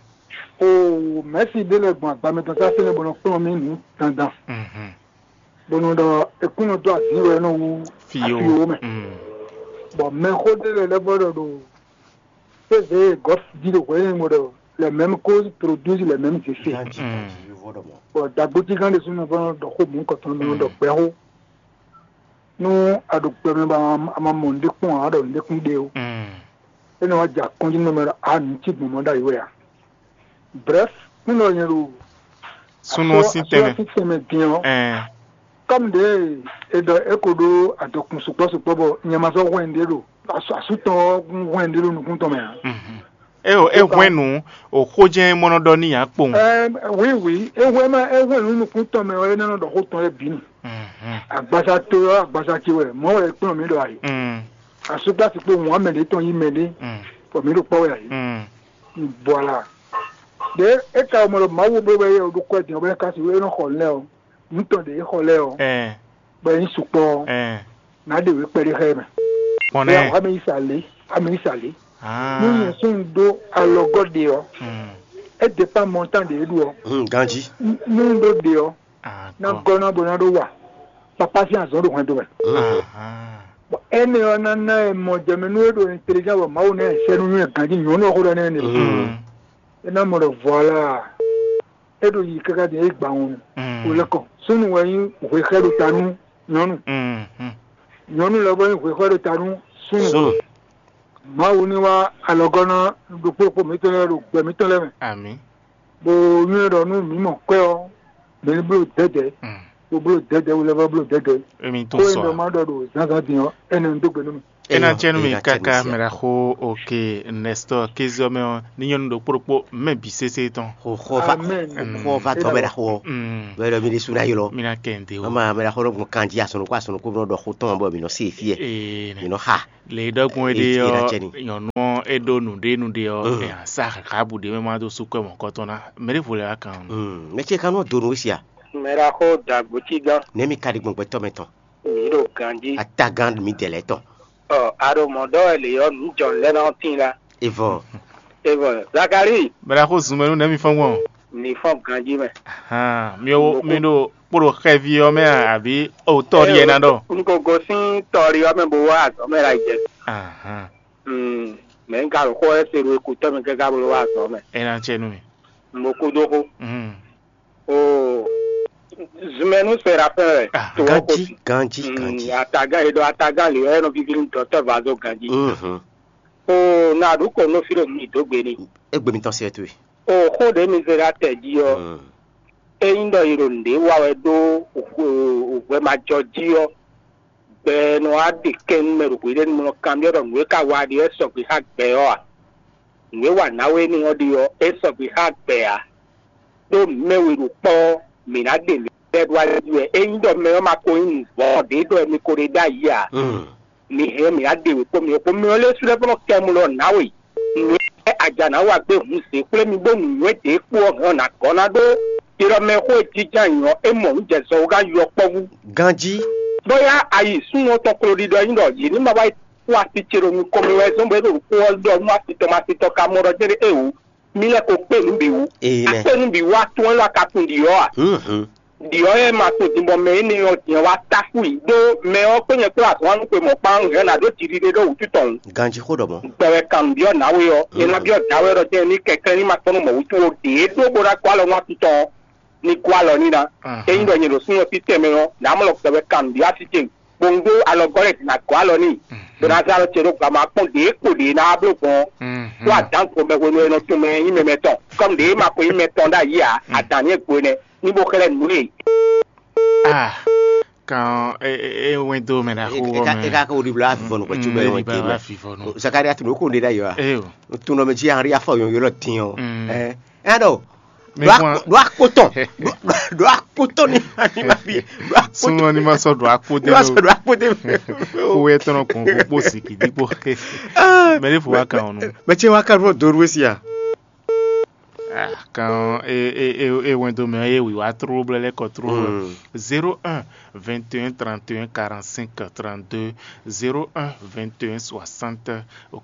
Oo, mɛ̌si ɖé lɛ́ɛ gbɔn agba mɛtɔn sásé nɛ́ bó nɔ kplɔ́n mì nǔ dandan. Mhm. Bó nɔ ɖɔ é kún nɔ dó azǐn wɛ nɔ wú Fíyo. Afíwo mɛ. Mm. Bɔ mɛxó ɖé lɛ́ɛ lɛ́ vɔ ɖɔ ɖo P V Golf jí ɖo hwɛ̌ nyɛ ɖɔ les mêmes causes produisent les mêmes effets. Ganji, Mm. Ganji, vɔ ɖɔ mɔ. Bɔ dagbotigán ɖésú nɔ vɔ ɖɔ xó mǔ kɔtɔn nɔ ɖɔ gbɛxó. Nú a ɖo gbɛ mɛ bɔ a ma mɔ nǔɖé kpɔ́n ǎ, a ɖɔ nǔɖé kún ɖe ó. Mm. É nɔ wá jɛ akɔ́njí nú mɛ ɖɔ a nǔ cí gbɔn mɔ ɖ'ayǐ wɛ a. Bref, nú nɔ nyɛ ɖo Súnnu ɔ́ sín tɛnmɛ. Sín tɛnmɛ din ɔ́, Ɛɛ. Kɔ́mu ɖě e ɖɔ é ko ɖó adɔkun sukpɔ́ sukpɔ́ bɔ nyɛ ma sɔ́ hwɛ́n ɖě ɖo asú tɔn ɔ́ hwɛ́n ɖě ɖo nukún tɔn mɛ ǎ. Mhm. É o é hwɛ́n nǔ o xó jɛ́n mɔ nɔ ɖɔ n'i ǎ kpowun. Ɛɛ, wǐ wǐ, é hwɛ́n ma é hwɛ́n nǔ nukún tɔn mɛ ɔ́, é ná nɔ ɖɔ xó tɔn lɛ́ɛ bǐ nu. Mhm. Agbaza to ɔ́, agbaza ce wɛ, mɔ̌ wɛ é kplɔ́n mǐ ɖɔ ayǐ. Mm. Asúgbási kpó wǎn mɛ ɖě tɔn yí mɛ ɖé, Mm. bɔ mǐ ɖo kpɔ́ wɛ ayǐ. Mm. Voilà. Ɖě é ka mɔ ɖɔ Mawu bló bɔ é ɖo kwɛ́ din ɔ́, bɔ é ka sixú é nɔ xɔ nǔ lɛ́ɛ ɔ́, nǔ tɔn ɖě é xɔ lɛ́ɛ ɔ́, Ɛɛ. Bɔ é nyí sukpɔ́ ɔ́, Ɛɛ. Nǎ ɖe wě kpɛɖé xá ɛ mɛ. Kpɔn Bɔ nɛ́. Ameyisa lě, ameyisa lě. Ah. Nú nyɛ sún ɖó alɔgɔ́ ɖe ɔ́, Mm. É dépend montant ɖě é ɖu ɔ́. Hmm, ganjí. Nú un ɖó ɖe ɔ́, Ah, ná kpɔn. Gɔ́ ná bó ná ɖó wa. Papá sín azɔ̌ ɖo hwɛndo mɛ. Hmm. Ah. Bɔ énɛ́ ɔ́ ná ná ɛ mɔ jɛmɛ nú é ɖo intelligent bɔ Mawu ná ɛ sɛ́ nú nywɛ́ ganjí nyɔ̌nu ɔ́ xó ɖɔ nɛ́ nɛ. Hmm. É ná mɔ ɖɔ voilà. É ɖo yi káká din é gba wɔn. Mm. Wò lɛ kɔ. Súnnu wɛ nyí hwexɛ́ ɖo ta nú nyɔ̌nu. Mm, mm. Nyɔ̌nu lɛ́ɛ vɔ nyí hwexɛ́ ɖo ta nú súnnu. Súnnu. Mawu ní wá alɔgɔ́ ná ɖokpó ɖokpó mǐtɔn lɛ́ɛ ɖo gbɛ mǐtɔn lɛ́ɛ mɛ. Amǐ. Bó nywɛ́ ɖɔ nú mǐ mɔ kwɛ́ ɔ́, mǐ ní bló dɛ̌dɛ̌. Mm. bó bló dɛ̌dɛ̌ wú lɛ́ɛ vɔ bló dɛ̌dɛ̌. Emi tún Xó e sɔ ɖɔ a? Má ɖɔ ɖo zǎnzǎn din ɔ́, énɛ́ un dó gbe nú mi. É ná Eyɔ, cɛ́ nú mi é ná cɛ́ nú káká mi. Mɛɖaxó. Oke, Nɛstɔ́ɔ Kéziɔ́ mɛ ɔ́, ní nyɔ́nu ɖokpó ɖokpó mɛ bǐ sésé tɔn. Xo xɔ va Amɛn. Xo va dɔ mɛɖaxó ɔ́. Mm. Mɛɖɔ mi ɖésú ná ylɔ. Mi ná kɛ nte o. Ama mɛɖaxó nɔ gbɔn kanjí asɔnukú asɔnukú nɔ ɖɔ xó tɔn bɔ mi nɔ se fí ɛ. Ee, mi nɔ xa. Le ɖɔkun é ɖe Eye ɔ́, cɛnɛ. Nyɔ̌nu ɔ́ é ɖó nǔɖé nǔɖé ɔ́, Mm. ɛ sa xaxabu ɖé mɛ ma dó sú kɔ́ mɔ̌kɔtɔn ná. Mɛ ɖěvo lɛ́ wá kan ɔ́. Mm, mɛ ce kanú dó nú we sia. Mɛɖaxó dagbo cí gán. Nɛ̌ mi ka ɖi gbɔn gbɛtɔ́ mɛ tɔn? Mi ɖo ganjí. Atagán mi dɛ lɛ́ tɔn. Ɔ, a ɖo mɔ̌ ɖɔ wɛ lě ɔ́, nǔ jɔ̌nu lɛ́ɛ ná tíin lá. Evɔ. Evɔ, Zakalíi, Mɛɖaxó zun mɛ nú nɛ̌ mi fɔ́n gbɔn? Mi fɔ́n ganjí mɛ. Hàn, mi ò mi ɖo kpo ɖo xɛví ɔ́ mɛ a, àbí o tɔ́ ɖíe ná ɖɔ? Un ko gosín tɔ́ɖi ɔ́ mɛ bó wá azɔ̌ mɛ ɖo ayǐjɛ. Ahan. Mm, mɛ un ka ɖo xó ɔ́ se ɖo ekutɔ́ mɛ káká bó wá azɔ̌ mɛ. É ná cɛ nú mi. Un bo kú dó xó. Mm. O zunmɛnú Serafin wɛ Ah, to ɔ́ ko Ganji, si. Ganji, Mm, Ganji. Atagán e ɖɔ atagán lě ɔ́, é nɔ víví nú dɔ̌tɔ́ Vazo ganjí. Mhm. O na ɖu kɔ nɔ fí ɖo mi dó gbe ni. Egbe mi tɔn se to. O xó ɖě mi zé ɖa tɛ jí ɔ́, Mm. é nyí ɖɔ yi ɖo nǔɖé wa wɛ ɖó hwɛmajɔ jí ɔ́, gbɛ nɔ wá ɖe kɛn nú mɛ ɖo hweɖénu mɔ kanbyɔ́ ɖɔ nǔ e ka wa ɖe ɔ́ sɔgbe xá gbɛ ɔ́ a? Nǔ e wa nǎwe énɛ́ ɔ́ ɖe ɔ́, é sɔgbe xá gbɛ ǎ. Ɖó mɛ we ɖo kpɔ́ ɔ́, mǐ ná ɖe mǐ lɛ́ɛ ɖó ali wɛ. Ényí ɖɔ mɛ ɔ́ ma ko nyí nǔvɔ́ ɖě ɖɔ mi ko ɖe ɖ'ayǐ ǎ, Mm. mi hɛn mǐ ná ɖe wě kpó mi kpó. Mɛ ɔ́ lɛ́ɛ sú lɛ́ vɔ́ nɔ kɛ mɔ ɖɔ nǎwe. Nǔ e aja nǎ wa gbé hun zě xwlé mi bó nǔnywɛ́ ɖě kpó ɔ́ hɛn ɔ́ nǎ gɔ́ ná ɖó. Ɖiɖɔ mɛ xó e jínjɔ́n ayǐ ɔ́, é mɔ nǔ jɛ zɔ wú gán yɔkpɔ́vú. Ganjí. Bóyá ayi súnnu ɔ́ tɔn klo ɖiɖɔ nyí ɖɔ yě ní ma wá yi kpó asi ce ɖo nukɔn mɛ wɛ zɔ́n bɔ é ɖo nǔkpó ɔ́ ɖɔ nú asi tɔn mɛ asi tɔn ka mɔ ɖɔ jɛ́n ɖé éwǔ. Mí lɛ́ ko kpé nǔ bǐ wú. Ee nɛ. Akpé nǔ bǐ wú atún élɔ́ a ka tunwun ɖiɔ́ a? Mhm. Ɖiɔ́ e ma tunwun din bɔ mɛ énɛ́ ɔ́ din ɔ́ wá táxu i ɖó mɛ ɔ́ kpé nyɛ kplá azɔ̌ anu xwe mɔ̌ kpán hɛn ná ɖó jiɖiɖe ɖó wǔtu tɔn. Ganjí xó ɖɔ mɔ̌. Gbɛ wɛ kan nǔ byɔ́ nǎwe ɔ́, é ná byɔ́ dǎwe ɔ́ ɖɔ jɛ́n ní kɛkɛ́ ní ma kpɔ́n nú mɔ̌ wútu ó ɖě ɖó bó ná gɔ́ alɔ nú atún tɔn ɔ́, ní gɔ́ alɔ n'i ná. Ényí ɖɔ nyɛ ɖo súnnu ɔ́ títɛn mɛ ɔ́, nǎ mɔ lɔ gbɛ wɛ kan nǔ byɔ́ así ce. Kpowun dó alɔgɔ́ lɛ́ɛ din ná gɔ́ alɔ n'i, bó ná zé alɔ ce ɖó gba ma kpɔ́n ɖě kpo ɖě ná wá bló gbɔn ɔ́. Ɖó adǎn ko mɛ hwenu e nɔ tunwun mɛ nyí mɛ mɛtɔn, kɔ́m ɖě ma ko nyí mɛtɔn ɖ'ayǐ ǎ, adǎn ní e gbo énɛ́, ní bó xlɛ́ nǔ e. Ah, kan e e e wɛn dó mɛ ɖaxó Eka wɔ eka mɛ. Eka ko ɖibla avivɔ nu kpɛtsu bɛ Mɛ wɛ ɖi ba te wa mɛ. Fi vɔ nu. Zakaria tun ko ɖe ɖ'ayǐ wa. Eyo. Tun nɔ mɛ jí ari afɔ yɔn yɔlɔ tin ɔ. Mm. Ɛ ɛ ɖɔ. Mɛ Ɖo fún wa. Ak- ɖo akpotɔ. Ɖo akpotɔ ni ani ma bi. Ɖo akpotɔ. Súnmọ́ ní ma sɔ ɖo akpó dé Ní ma ló. Sɔ ɖo akpotɔ. Kówé tɔnɔ kún kó kpó sìkì dípò. Mɛ ɖé fò wá kan ɔ̀nù. Mɛ ce wá kan ɖo doro sia. Ah, kan e e e e wɛn do mɛ e wi wá tró blɛ lɛ kɔ tró. Mm. Zéro un vingt et un trente et un quarante-cinq trente-deux, zéro un vingt et un soixante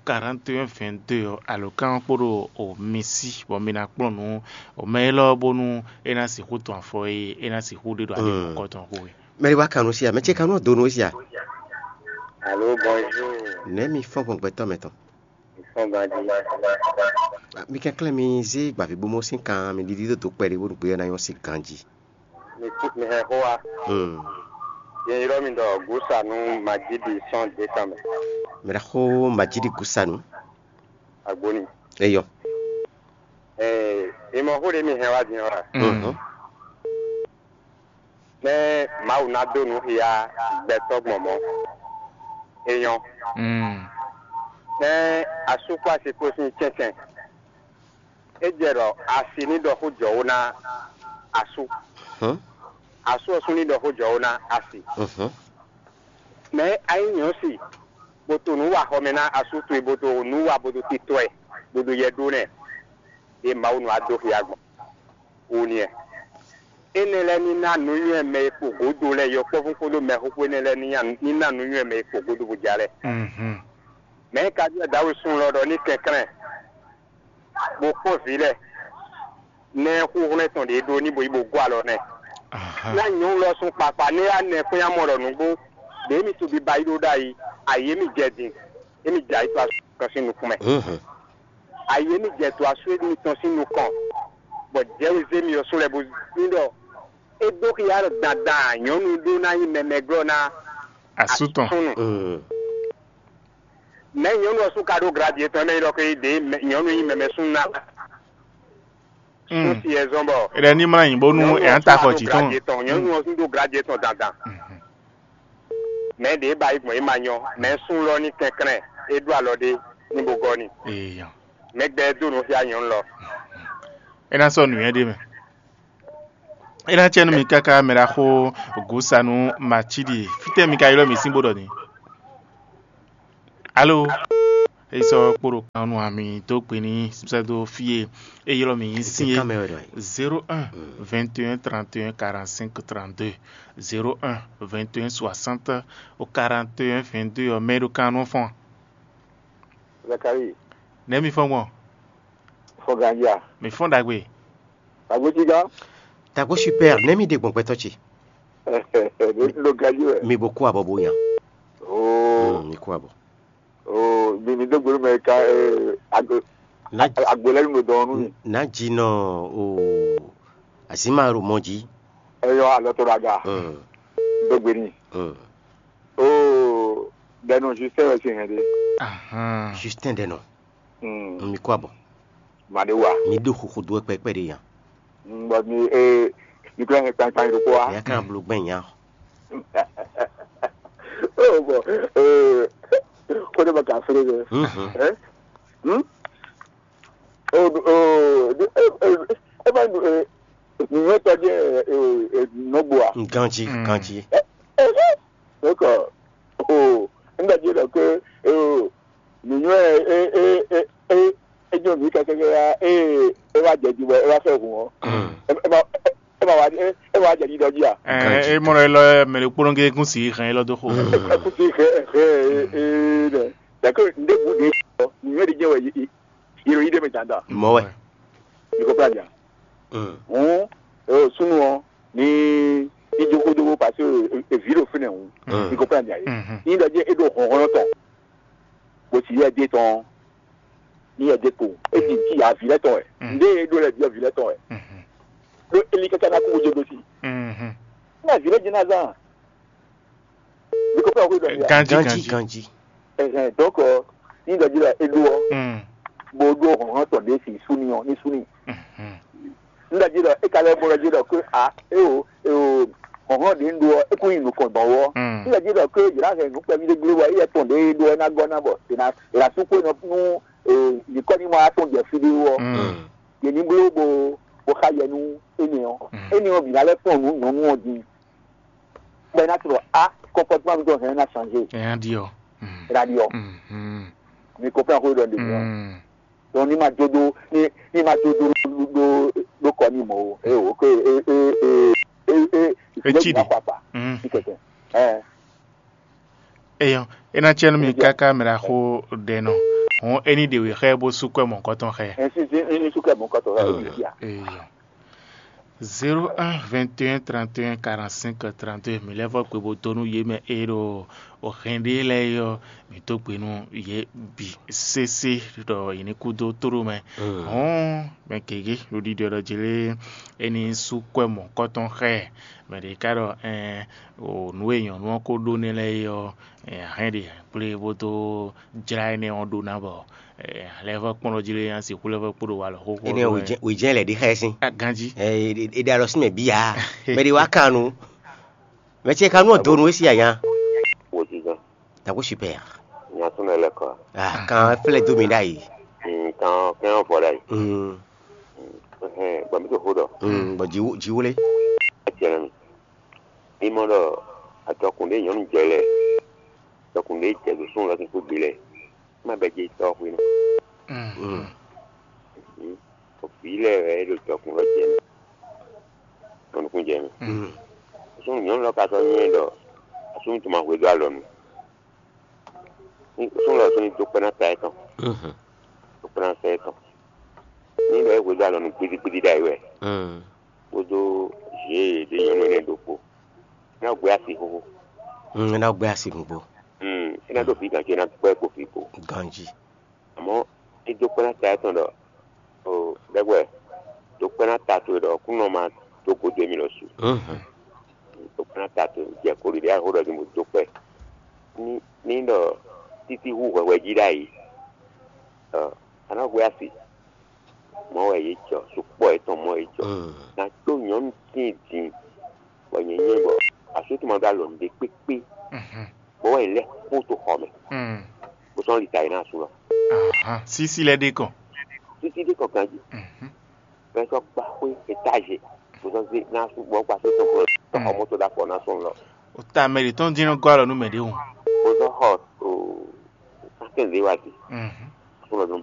quarante et un vingt-deux ɔ́, alǒkan ɔ́ kpo ɖo o mi sí bɔ mi ná kplɔ́n nǔ o mɛ élɔ́ bónú é ná sixú tɔn afɔ e é ná sixú ɖe ɖo ali Mm. mɔ̌kɔ tɔn xo e. Mɛ ɖé wá kan nú sia, mɛ ce kan nú do nú sia. Allô, bonjour. Nɛ̌ mi fɔ́n gbɔn gbɛtɔ́ mɛ tɔn? Mi fɔ́n ganjí. Mi kɛnklɛ́n mi zé gbavǐbomɔ sín kan mi ɖiɖi dó dǒ kpɛɖé bónú gbé ɔ́ ná nyɔ́ sín ganjí. Mi kú mi hɛn xó wa. Hmm. Yɛn ylɔ́ mi ɖɔ Gusanu Majidi sɔ́n décembre. Mɛ ɖaxó Majidi Gusanu. Agbóni. Eyɔ. Ɛɛ, mi mɔ xó ɖé mi hɛn wá din ɔ́ a? Mhm. Nɛ́ Mawu ná dó nǔ xia gbɛtɔ́ gbɔn mɔ̌. É nyɔ́. Mm. Nɛ́ asú kpó asi kpó sín cɛ́ncɛn. É jɛ ɖɔ asi ní ɖɔ xó jɔwó ná asú. Hɔn. Asú ɔ́ sú ní ɖɔ xó jɔwó ná asi. Mhm. Mɛ ayí nyɔ̌ si, bó to nǔ wa xɔ mɛ ná asú towe, bó to nǔ wa bó to titɔ ɛ, bó ɖo yɛ ɖó nɛ, ɖe Mawu nɔ wá dó xia gbɔn. Wo nìyɛn. Énɛ́ lɛ́ɛ ní ná nǔnywɛ́ mɛ e kpo gǒdo lɛ́ɛ, yɔkpɔ́vú kpódó mɛxóxó énɛ́ lɛ́ɛ ní nya- ní ná nǔnywɛ́ mɛ e kpo gǒdo bó ja lɛ́ɛ. Mhm. Mɛ̌ ka byɔ́ Dawusu lɔ ɖɔ ní kɛnklɛ́n, bó kpɔ́n vǐ lɛ́ɛ, nɛ́ xúxlɛ́ tɔn ɖě ɖó ní bo yi bo gɔ́ alɔ nɛ́. Aha. Ná nyɔ̌nu lɔ sún kpakpa nɛ́ yá nɛ kpɛ́n amɔ ɖɔ nǔgbó, ɖě mi to biba yi ɖó ɖ'ayǐ, ayǐ émí jɛ din, émí jɛ ayǐ to asú tɔn sín nukún mɛ. Mhm. Ayǐ émí jɛ to asú émítɔn sín nukɔn, bɔ jɛ̌wizé mi ɔ́ sú lɛ́ bó ní ɖɔ é dó xyá ɖɔ dandan nyɔ̌nu ɖó ná nyí mɛmɛglɔ́ ná Asú tɔn. Asúnnu. Mm. Mɛ̌ nyɔ̌nu ɔ́ sú ka ɖó gladi yětɔn mɛ yi ɖɔ xwé ɖě mɛ- nyɔ̌nu nyí mɛmɛ súnnu ná? Súnsi ɛ zɔ́n bɔ é ɖɛ ní mlá nyi bónú nyɔ̌nu ɔ́ ɛ ná ta xɔ jǐ tɔn. Nyɔ̌nu ɔ́ ɖó glajɛ tɔn dandan. Mɛ ɖě ba yi gbɔn é ma nyɔ, mɛ sún lɔ ní kɛnklɛ́n, é ɖó alɔ ɖé ní bó gɔ́ n'i. Eya. Mɛ gbɛ dó nǔ xyá nyɔ̌nu lɔ. É ná sɔ́ nǔnywɛ́ ɖé mɛ. É ná cɛ nú mi káká mɛ ɖaxó Gusanu Macíɖi. Fítɛ́ mi ka ylɔ́ mì sín bó ɖɔ n'i? Alo, é sɔ́ kpo ɖo kan nú ami dó gbe n'i sɛ́ dó fí e é ylɔ́ mì nyi sín é. Zéro un, vingt et un, trente et un, quarante-cinq, trente-deux. Zéro un, vingt et un, soixante, quarante et un, vingt-deux ɔ́, mɛ e ɖo kan nú fɔ́n. Zakari, Nɛ̌ mi fɔ́n gbɔn? Fɔ́n ganjí a? Mi fɔ́n ɖagbe. Agbotiga. Tagbo super, nɛ̌ mi ɖe gbɔn gbɛtɔ́ ce? Ɖo ganjí wɛ. Mi bo kú abɔ bo nya. Oo. Mm, mi kú abɔ. Oo, mi mi dó gbólú mɛ ka eh, agbo Ná agbo lɛ́ nu ɖo dɔn nú mi. Ná jinɔ o azima ɖo mɔ jí. Eyɔ alɔ to ɖo aga. Mm, Dó gbe n'i. Mm. Oo, ɖɛnu Justin wɛ sin hɛn ɖe. Ahán. Justin ɖe nɔ. Mm. Mi kú abɔ. Màɖé wa. Mi ɖo xoxo dó wɛ kpɛkpɛ ɖe nya. Mm, bɔ mi eh, mi kúlẹ̀ hɛn kpankpan ɖokpó wa. Ya kan blo gbɛn nya. Oh, bɔ eh, kó ɖe bɔ kà fúlé ɖe. Mhm. Eh? Hmm? Oh, oh, eh, eh, eh, eh, nìyẹn tɔjɛ nɔgbo a? Ganji, Mm. Ganji. Eh, eh, eh. Donc, oh, nígbà tí ó lọ pé, oh, nìyẹn ẹ ẹ ẹ ẹ ẹ jọ mí kẹkẹkẹ ya ẹ ẹ wá jẹ jibọ ẹ wá fẹ́ hùn ọ. Mm. Ẹ ẹ ma ẹ ma wá ẹ ẹ wá jẹ dídọ jí a? Ẹ ẹ mọ̀rọ̀ ẹ lọ ẹ mẹ̀lẹ́ kpónógé kún sí hàn ẹ lọ́dún xo. Ẹ kún sí hẹ hẹ ẹ ẹ dẹ. Dàkẹ́ ndé bu de ọ nìyẹn de jẹ́ wẹ̀ yìí yìí yìí dé mi dandan. Mɔ wɛ. Ìkó fúlàjà. Mm. Hɔn ẹ o súnú ọ ní ìjókòó dógó pàṣẹ èvì ló fínẹ̀ hùn. Mm. Ìkó fúlàjà yìí. Mhm. Ní ìdájẹ́ é ɖo hɔnhɔn tɔn. Bó sì yẹ dé tɔn ní yẹ dé kpo é sì ti yà vǐ lɛ tɔn ɛ. Mm. Ndé é ɖó lɛ vǐ ɔ vǐ lɛ tɔn ɛ. Mhm. Ɖó Eli kɛkɛ ná kú bó jó dó sí. Mhm. Ní àvǐ lɛ jẹ́ ná zán. Ìkó fúlàjà yìí. Ganji Ganji, ganji. Ganji. Ɛhɛn, donc ɔ, ní ɖɔ jí la é ɖó ɔ, Mm. Bó ɖó hɔnhɔn tɔn ɖé si súnì ɔ ní súnì. Mhm. Ní ɖɔ jí la é ka lɛ́ bó ɖɔ jí la ké a é o é o hɔnhɔn ɖé ń ɖó ɔ é kún nyi nukɔn gbɔn wɔ. Mm. Ní ɖɔ jí la ké yě ná hɛn nǔ kpɛví ɖé gblé wɔ é yɛ tɔn ɖé é ɖó ɔ é ná gɔ́ ná bɔ é ná é ná sú kó nɔ nú nyǐkɔ ní ma wá tɔn jɛ fí ɖé wɔ. Mm. Yě ní bló bó bó xa yɛ nú énɛ́ ɔ. Mm. Énɛ́ ɔ bǐ ná lɛ́ kpɔ́n nǔ nyɔ̌nu ɔ din. Bɔ é ná tlɔ a comportement mitɔn hɛn ná changer. Ɛ ná ɖi ɔ. Mm. É ná ɖi ɔ. Mhm. Mi comprend ko ɖɔ ɖe mi ɔ. Mm. Donc ní ma jó dó ní ní ma jó dó dó dó kɔ ní mɔ o. É o ke é é é é é Etsi ɖe. Kpakpa Mm. ní kɛkɛ. Ɛ Eyɔn, é ná cɛ́ nú mi káká mɛ ɖaxó ɖɛ nɔ. Hɔn é ní ɖe wě xá ɛ bó sú kwɛ́ mɔ̌kɔtɔn xá ɛ. Ɛ sí sí ní sukɛ mɔ̌kɔtɔn ɛ ó ti fia. Eyɔn. Zéro un, vingt et un, trente et un, quarante-cinq, trente-deux, mi lɛ́ vɔ gbe bó dó nú yě mɛ e ɖo o hɛn ɖé lɛ́ɛ é ɔ́, mi dó gbe nú yě bǐ sésé ɖɔ yě ní kú dó tóɖó mɛ. Hɔn mɛ gěgé ɖo ɖiɖɔ ɖɔ jlé é ní sú kwɛ́ mɔ̌kɔtɔn xá ɛ. Mɛ ɖě ká ɖɔ ɛn o nǔ e nyɔ̌nu ɔ́ ko ɖó n'i lɛ́ɛ é ɔ́, ɛn a hɛn ɖe kplé bó dó jlá énɛ́ ɔ́ ɖó ná bɔ a lɛ́ vɔ́ kpɔ́n ɖɔ jí lé nya sixú lɛ́ vɔ́ kpó ɖo walɔ xóxó. Énɛ́ wějɛ́n lɛ ɖě xá ɛ sín. Ganjí. Ɛ ɖe ɖe alɔ sín mɛ bíyà. Mɛ ɖé wá kan nu. Mɛ ce kan nu ɔ́ donu é sí anya. Wòjijɔ. Tako super. Nya tún nɔ lɛ kɔ. Ah, kan flɛ dó mi ɖ'ayǐ. Mm, kan kɛn vɔ ɖ'ayǐ. Mm. Hɛn gbɔn mi to xó ɖɔ. Mm, bɔ jiwu jiwu lé. Etiɛnɛ mi. Mi mɔ ɖɔ atɔkùn ɖé nyɔ̌nu jɛ lɛ. Atɔkùn ɖé jɛ ɖo sún lɔ kí kó gbe lɛ. Má bɛ jɛ tɔ xwe nɔ. Mm. Mm. Vǐ lɛ wɛ ɖo tɔkùn lɔ jɛ mɛ. Tɔnukun jɛ mɛ. Mm. Sún nyɔ̌nu lɔ ka sɔ́ nyɛ ɖɔ asúnú tɔn ma hwedó alɔ nu. Sún lɔ sún ní dó kpɛ́ ná ta ɛ tɔn. Mhm. Dó kpɛ́ ná ta ɛ tɔn. Ní lɔ é hwedó alɔ nu gbidigbidi ɖ'ayǐ wɛ. Mm. Kpódó zě e ɖě nyɔ̌nu énɛ́ ɖokpó. Ná gbé asi xóxó. Mm, ná gbé asi nukpo. Mm, é ná dó vǐ ganjí é ná gbɛ́ kpo vǐ kpo. Ganjí. Àmọ́ é dó kpɛ́ ná ta ɛ tɔn ɖɔ o ɖɛgbɛ dó kpɛ́ ná ta towe ɖɔ kúnɔ ma dó gǒdo émí lɔ su. Mhm. Dó kpɛ́ ná ta towe jɛ koli ɖě axó ɖɔ din bó dó kpɛ́. Ní ní ɖɔ títí hú hwɛhwɛ jí ɖ'ayǐ. Ɔ, a nǎ hwɛ asi. Mɔ̌ wɛ yě jɔ, sukpɔ́ yětɔn mɔ̌ yě jɔ. Na tó nyɔ̌nu tíin din, bɔ nyɛ nyɛ bɔ asú tɔn ma ɖó alɔ nǔɖé kpékpé, bɔ wɛ lɛ́ kpó to xɔ mɛ, bó sɔ́ li ta yi ná asú lɔ. Sísí lɛ́ ɖe kɔn. Títí ɖé kɔn ganjí, bɛ sɔ́ kpa xwé étáze, bó sɔ́ zé ná asú bɔ kpa só tɔn kplɔ́ tɔn xɔ mɔtò ɖó afɔ ná sɔn lɔ. O ta mɛ ɖě tɔn dín nɔ gɔ́ alɔ nú mɛ ɖě hǔn. Bó sɔ́ xɔ o sákɛn ɖé wá di, asú lɔ dún